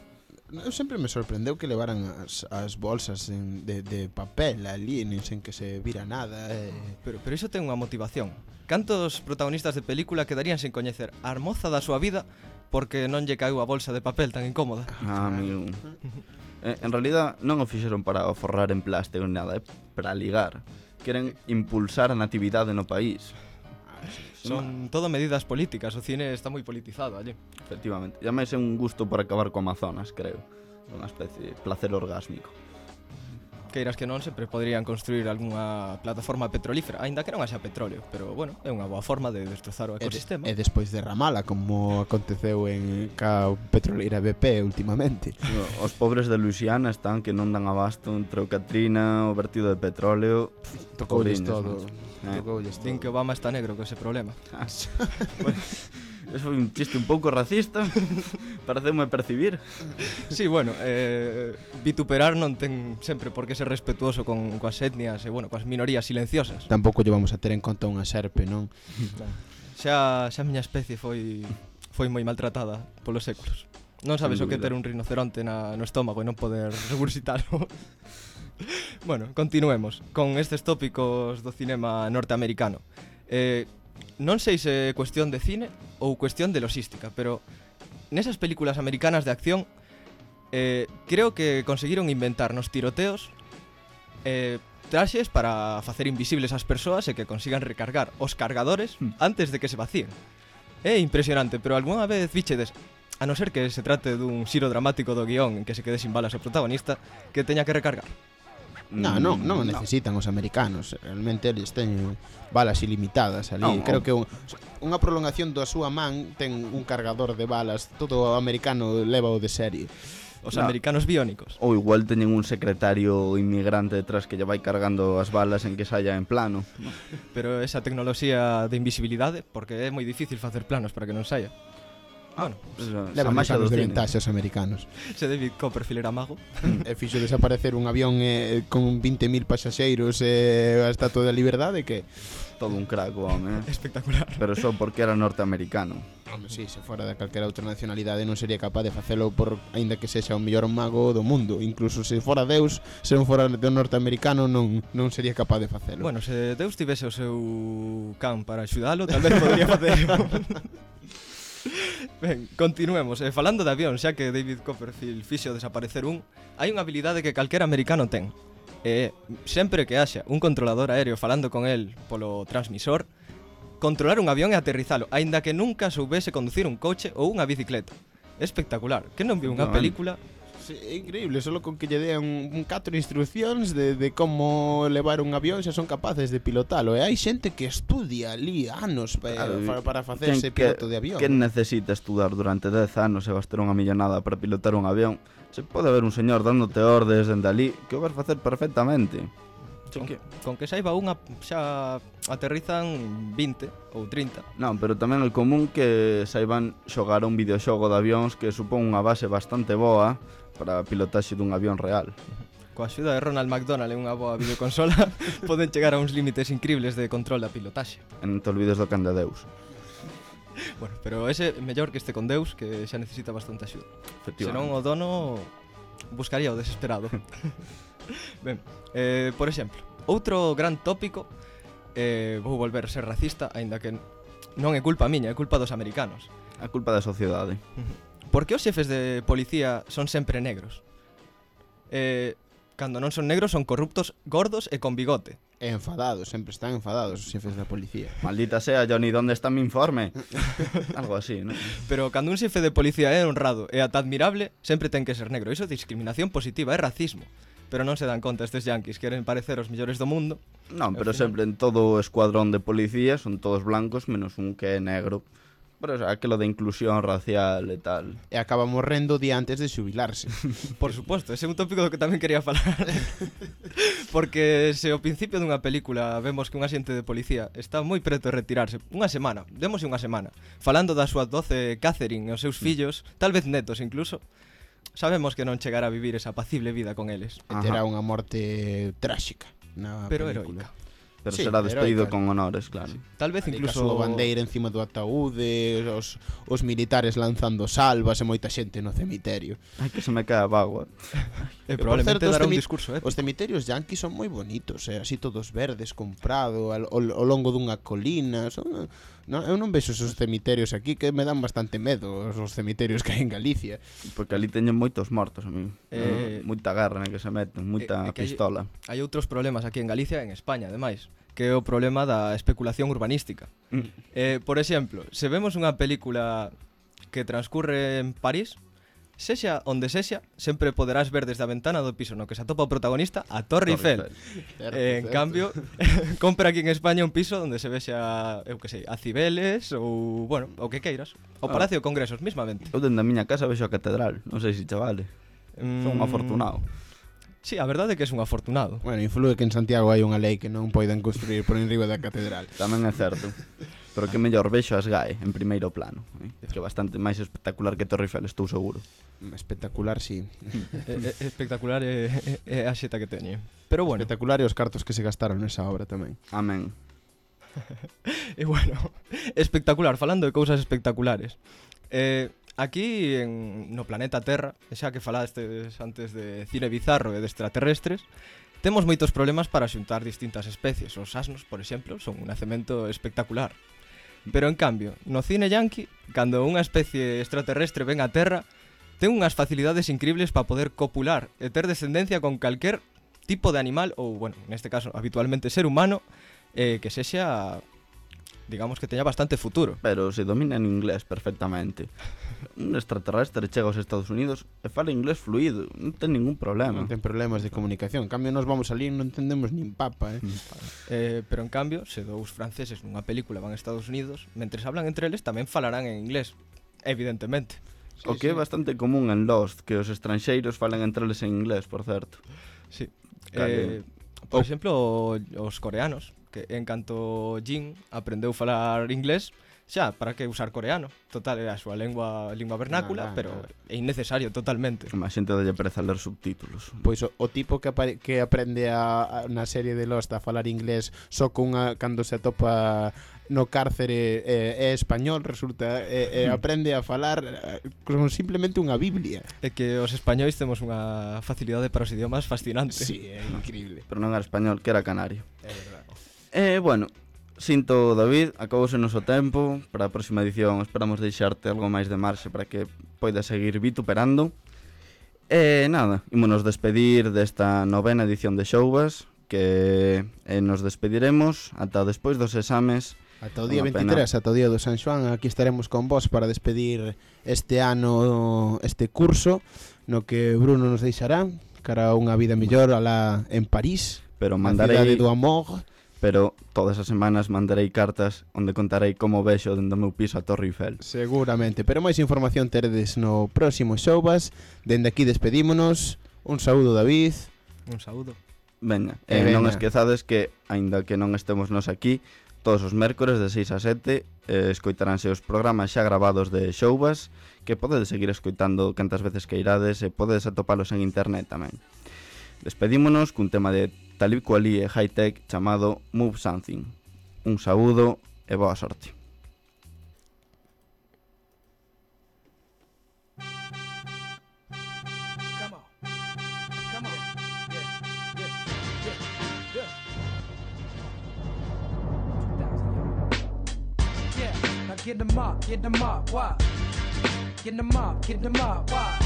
Eu sempre me sorprendeu que levaran as, as bolsas en, de, de papel ali, nin sen que se vira nada. Eh. Pero, pero iso ten unha motivación. Cantos protagonistas de película quedarían sen coñecer a moza da súa vida porque non lle caeu a bolsa de papel tan incómoda? Ah, amigo. Eh, en realidad non o fixeron para o forrar en plástico ni nada, é para ligar. Queren impulsar a natividade no país. Son todo medidas políticas, o cine está moi politizado allí. Efectivamente. E ademais é un gusto por acabar co Amazonas, creo. Unha especie de placer orgásmico. Queiras que non, sempre poderían construir algunha plataforma petrolífera, aínda que non haxa petróleo, pero bueno, é unha boa forma de destrozar o E, de, ecosistema. e despois de Ramala, como aconteceu en ca petroleira B P últimamente. Os pobres de Luisiana están que non dan abasto entre o Katrina, o vertido de petróleo. Tocoulles pobriños, todo. Eh. Tocoulles todo. Din que Obama está negro con ese problema. Eso foi un chiste un pouco racista. Pareceume percibir. Sí, bueno, eh, vituperar non ten sempre por que ser respetuoso con coas etnias e, bueno, coas minorías silenciosas. Tampouco lle vamos a ter en conta unha serpe, non? Xa, xa a miña especie foi foi moi maltratada polos séculos. Non sabes Sen o que dúbida. ter un rinoceronte na, no estómago e non poder regurgitarlo. Bueno, continuemos con estes tópicos do cinema norteamericano. Eh, non sei se é cuestión de cine ou cuestión de logística, pero nesas películas americanas de acción eh, creo que conseguiron inventar nos tiroteos eh, traxes para facer invisibles as persoas e que consigan recargar os cargadores antes de que se vacíen. É impresionante, pero algunha vez vichedes, a non ser que se trate dun xiro dramático do guión en que se quede sin balas o protagonista, que teña que recargar. No, non, non o Mm, necesitan os americanos. Realmente eles teñen balas ilimitadas ali. Non, Creo non. que un, unha prolongación da súa man ten un cargador de balas. Todo o americano leva o de serie. Os No. americanos biónicos. Ou igual teñen un secretario inmigrante detrás que lle vai cargando as balas en que saia en plano. Pero esa tecnoloxía de invisibilidade, porque é moi difícil facer planos para que non saia. Bueno, Esa Levan maxa anos do de cine. ventaxe os americanos. se David Copperfield era mago. E fixo desaparecer un avión eh, con veinte mil pasaxeiros e eh, a Estatua da Liberdade que... Todo un crack, o home, eh? Espectacular. Pero só porque era norteamericano. Home, sí, se fora de calquera outra nacionalidade non sería capaz de facelo por aínda que sexa o mellor mago do mundo. Incluso se fora Deus, se non fora de norteamericano non non sería capaz de facelo. Bueno, se Deus tivese o seu can para axudalo, tal vez podría facelo. Ben, continuemos. Eh, falando de avión, xa que David Copperfield fixo desaparecer un, hai unha habilidade que calquera americano ten. E sempre que haxa un controlador aéreo falando con el polo transmisor, controlar un avión e aterrizalo, aínda que nunca soubese conducir un coche ou unha bicicleta. É espectacular. Que non viu unha No, película? Sí, é increíble, solo con que lle dean un catro instruccións de, de como levar un avión xa son capaces de pilotalo. E hai xente que estudia ali anos pa, Claro, para, para facerse quen piloto que, de avión. Quen necesita estudar durante dez anos e gastar unha millonada para pilotar un avión? Se pode ver un señor dándote ordes dende ali que o vas facer perfectamente. Con, con que saiba unha xa aterrizan vinte ou trinta. Non, pero tamén é común que saiban xogar a un videoxogo de avións que supón unha base bastante boa para a pilotaxe dun avión real. Coa axuda de Ronald McDonald e unha boa videoconsola poden chegar a uns límites increíbles de control da pilotaxe. E non te olvides do can de Deus. Bueno, pero ese é mellor que este con Deus, que xa necesita bastante axuda. Senón Efectivamente. o dono buscaría o desesperado. Ben, eh, por exemplo, outro gran tópico, eh, vou volver a ser racista, aínda que non é culpa miña, é culpa dos americanos. A culpa da sociedade. Por que os xefes de policía son sempre negros? Eh, cando non son negros son corruptos, gordos e con bigote. E enfadados, sempre están enfadados os xefes da policía. Maldita sea, Johnny, ¿dónde está mi informe? Algo así, ¿no? Pero cando un xefe de policía é honrado e ata admirable, sempre ten que ser negro. Iso é discriminación positiva, é racismo. Pero non se dan conta estes yanquis, queren parecer os mellores do mundo. Non, pero Ao final- sempre en todo o escuadrón de policía son todos blancos menos un que é negro. Pero o sea, aquilo de inclusión racial e tal. E acaba morrendo día antes de xubilarse. Por suposto, ese é un tópico do que tamén quería falar. Porque se ao principio dunha película vemos que un axente de policía está moi preto de retirarse, unha semana, demos unha semana, falando da súa doce Catherine e os seus fillos, tal vez netos incluso, sabemos que non chegará a vivir esa apacible vida con eles. E terá unha morte tráxica na Pero película. heroica. Pero Sí, será despedido heroica. con honores, claro. Tal vez Ali incluso incluso a bandeira encima do ataúde, os, os militares lanzando salvas e moita xente no cemiterio. Ai, que se me cae a bagua. eh, por probablemente certo, os dará un temi- discurso épico. Os cemiterios yanquis son moi bonitos, eh? Así todos verdes, comprado, ao, ao longo dunha colina. Son, no, eu non vexo esos cemiterios aquí que me dan bastante medo, os cemiterios que hai en Galicia. Porque ali teñen moitos mortos, a mí. Eh, Moita guerra na que se meten, moita eh, que hai- pistola. Hai outros problemas aquí en Galicia e en España, ademais, que é o problema da especulación urbanística. Mm. Eh, por exemplo, se vemos unha película que transcurre en París, sexa onde sexa, sempre poderás ver desde a ventana do piso no que se atopa o protagonista a Torre Eiffel. Certo, Eh, en certo. cambio, compra aquí en España un piso onde se vexa, eu que sei, a Cibeles ou, bueno, o que queiras. O Ah. Palacio de Congresos, mismamente. Eu dende a miña casa vexo a catedral. Non sei se chavale. Son un Mm, afortunado. Sí, a verdade é que é un afortunado. Bueno, inflúe que en Santiago hai unha lei que non poidan construir por enriba da catedral. Tamén é certo. Pero que mellor vexo as G A E en primeiro plano, eh? Que é bastante máis espectacular que Torre Eiffel, estou seguro. Espectacular, sí. é, é espectacular é, é, é a xeta que teñe. Pero bueno, Espectacular e os cartos que se gastaron nesa obra tamén. Amén. e bueno, espectacular, falando de cousas espectaculares. Eh, aquí en, no planeta Terra, xa que falastes antes de cine bizarro e de extraterrestres, temos moitos problemas para xuntar distintas especies. Os asnos, por exemplo, son un nacemento espectacular. Pero en cambio, no cine yanqui, cando unha especie extraterrestre ven á Terra, ten unhas facilidades increíbles para poder copular e ter descendencia con calquer tipo de animal ou, bueno, neste caso, habitualmente ser humano, eh, que sexa, digamos que teña bastante futuro. Pero se domina en inglés perfectamente. Un extraterrestre chega aos Estados Unidos e fala inglés fluido, non ten ningún problema. Non ten problemas de comunicación. En cambio, nos vamos ali e non entendemos nin papa, eh? Eh, pero en cambio, se dous franceses nunha película van a Estados Unidos, mentres hablan entre eles tamén falarán en inglés, evidentemente. O que é bastante común en Lost, que os estranxeiros falan entre eles en inglés, por certo. Sí. Cale. Eh, por exemplo, o- os coreanos, que en canto Jin aprendeu falar inglés, Xa, para que usar coreano? Total, é a súa lengua, lingua vernácula, Nada, pero nada. é innecesario totalmente. A xente dalle pereza ler subtítulos. Pois o, o tipo que, apare, que aprende a, a, na serie de Lost a falar inglés só cunha cando se atopa no cárcere é, é español, resulta e, e aprende a falar eh, con simplemente unha biblia. É que os españois temos unha facilidade para os idiomas fascinante. Sí, é increíble. Pero non era español, que era canario. É verdade. Eh, bueno, sinto, David, acabouse o noso tempo. Para a próxima edición esperamos deixarte algo máis de marxe para que poidas seguir vituperando. E nada, ímonos despedir desta novena edición de Showbas, que eh, nos despediremos ata despois dos exames. Ata o día Unha veintitrés, ata o día do San Xoán, aquí estaremos con vos para despedir este ano, este curso, no que Bruno nos deixará cara a unha vida mellor alá en París, Pero a mandarei, cidade do amor. pero todas as semanas mandarei cartas onde contarei como vexo dentro do meu piso a Torre Eiffel. Seguramente, pero máis información teredes no próximo Showbas. Dende aquí despedímonos. Un saúdo, David. Un saúdo. Veña, E eh, non veña. esquezades que, aínda que non estemos nos aquí, todos os mércores de seis a sete eh, escoitaránse os programas xa gravados de Showbas, que podedes seguir escoitando cantas veces que irades e podedes atopalos en internet tamén. Despedímonos cun tema de Talib Kweli e High Tech chamado Move Something. Un saúdo e boa sorte. Come on. Come on. Yeah, yeah, yeah, yeah, yeah. Yeah, now get them up, get them up, why? Get them up, get them up, why?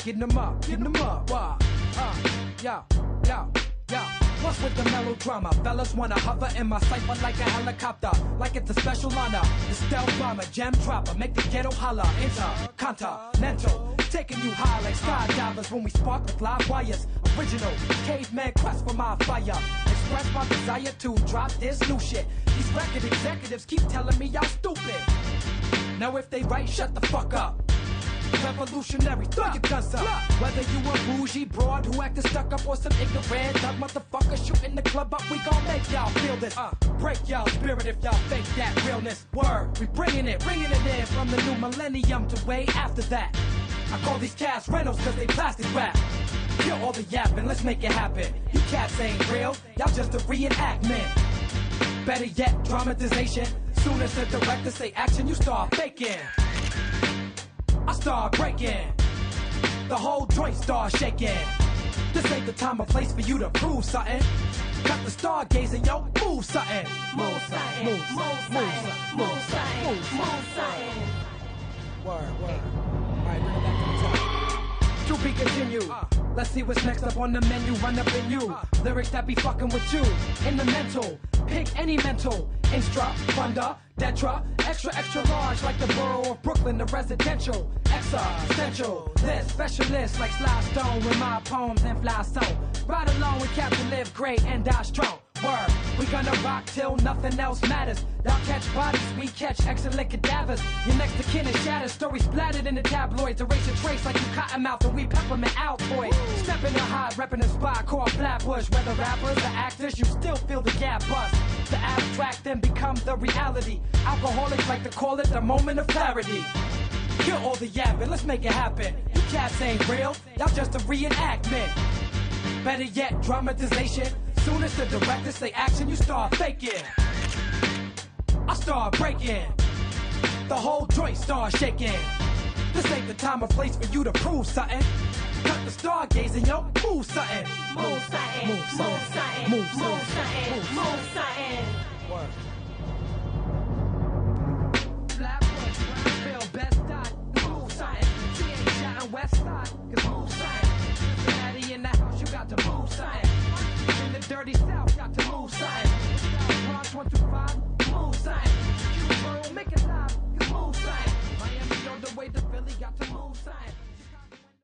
Get them up, get them up, why? Uh, yo, yo, yo. What's with the melodrama? Fellas wanna hover in my cipher like a helicopter, like it's a special honor. The stealth bomber, jam dropper, make the ghetto holler. Intercontinental, taking you high like skydivers when we spark with live wires. Original caveman quest for my fire. Express my desire to drop this new shit. These record executives keep telling me y'all stupid. Now if they right, shut the fuck up. Revolutionary, throw your guns up. Whether you a bougie broad who acted stuck up or some ignorant thug motherfucker shooting the club up, we gon' make y'all feel this. Uh, break y'all spirit if y'all fake that realness. Word, we bringing it, bringing it in from the new millennium to way after that. I call these cats rentals cause they plastic wrap. Kill all the yapping, let's make it happen. You cats ain't real, y'all just a reenactment. Better yet, dramatization. Soon as the director say action, you start faking. I start breaking. The whole joint start shaking. This ain't the time or place for you to prove something. Cut the stargazing, yo, move something. Move something. Move, Move move, something. move, Move something. move, Move something. Word, word. Alright, bring it back to the top. To be continued. Uh, let's see what's next up on the menu. Run up in you. Uh, Lyrics that be fucking with you. In the mental. Pick any mental. Instra, funda, detra. Extra, extra large like the borough of Brooklyn. The residential. Existential. This specialist like Sly Stone with my poems and fly song. Ride along with Captain Live Great and die strong. Word, we gonna rock till nothing else matters. Y'all catch bodies, we catch excellent cadavers. Your next to kin is shattered, stories splattered in the tabloids. Erase your trace like you cotton mouth and we peppermint Altoid. Stepping in high, repping a spot called Flatbush. Whether rappers or actors, you still feel the gap bust. The abstract then become the reality. Alcoholics like to call it the moment of clarity. Kill all the yapping, let's make it happen. You cats ain't real, y'all just a reenactment. Better yet, dramatization. Soon as the director say action, you start faking. I start breaking. The whole joint start shaking. This ain't the time or place for you to prove something. Cut the stargazing, yo, move something. Move something. Move something. Move something. Move Move something. Move Move something. Word. Flatbush, Brownsville, Best Side, move something. T H shouting West Side, cause move something. Cincinnati in the house, you got to move something. In the dirty South, got to move something. Bronx one two five, move something.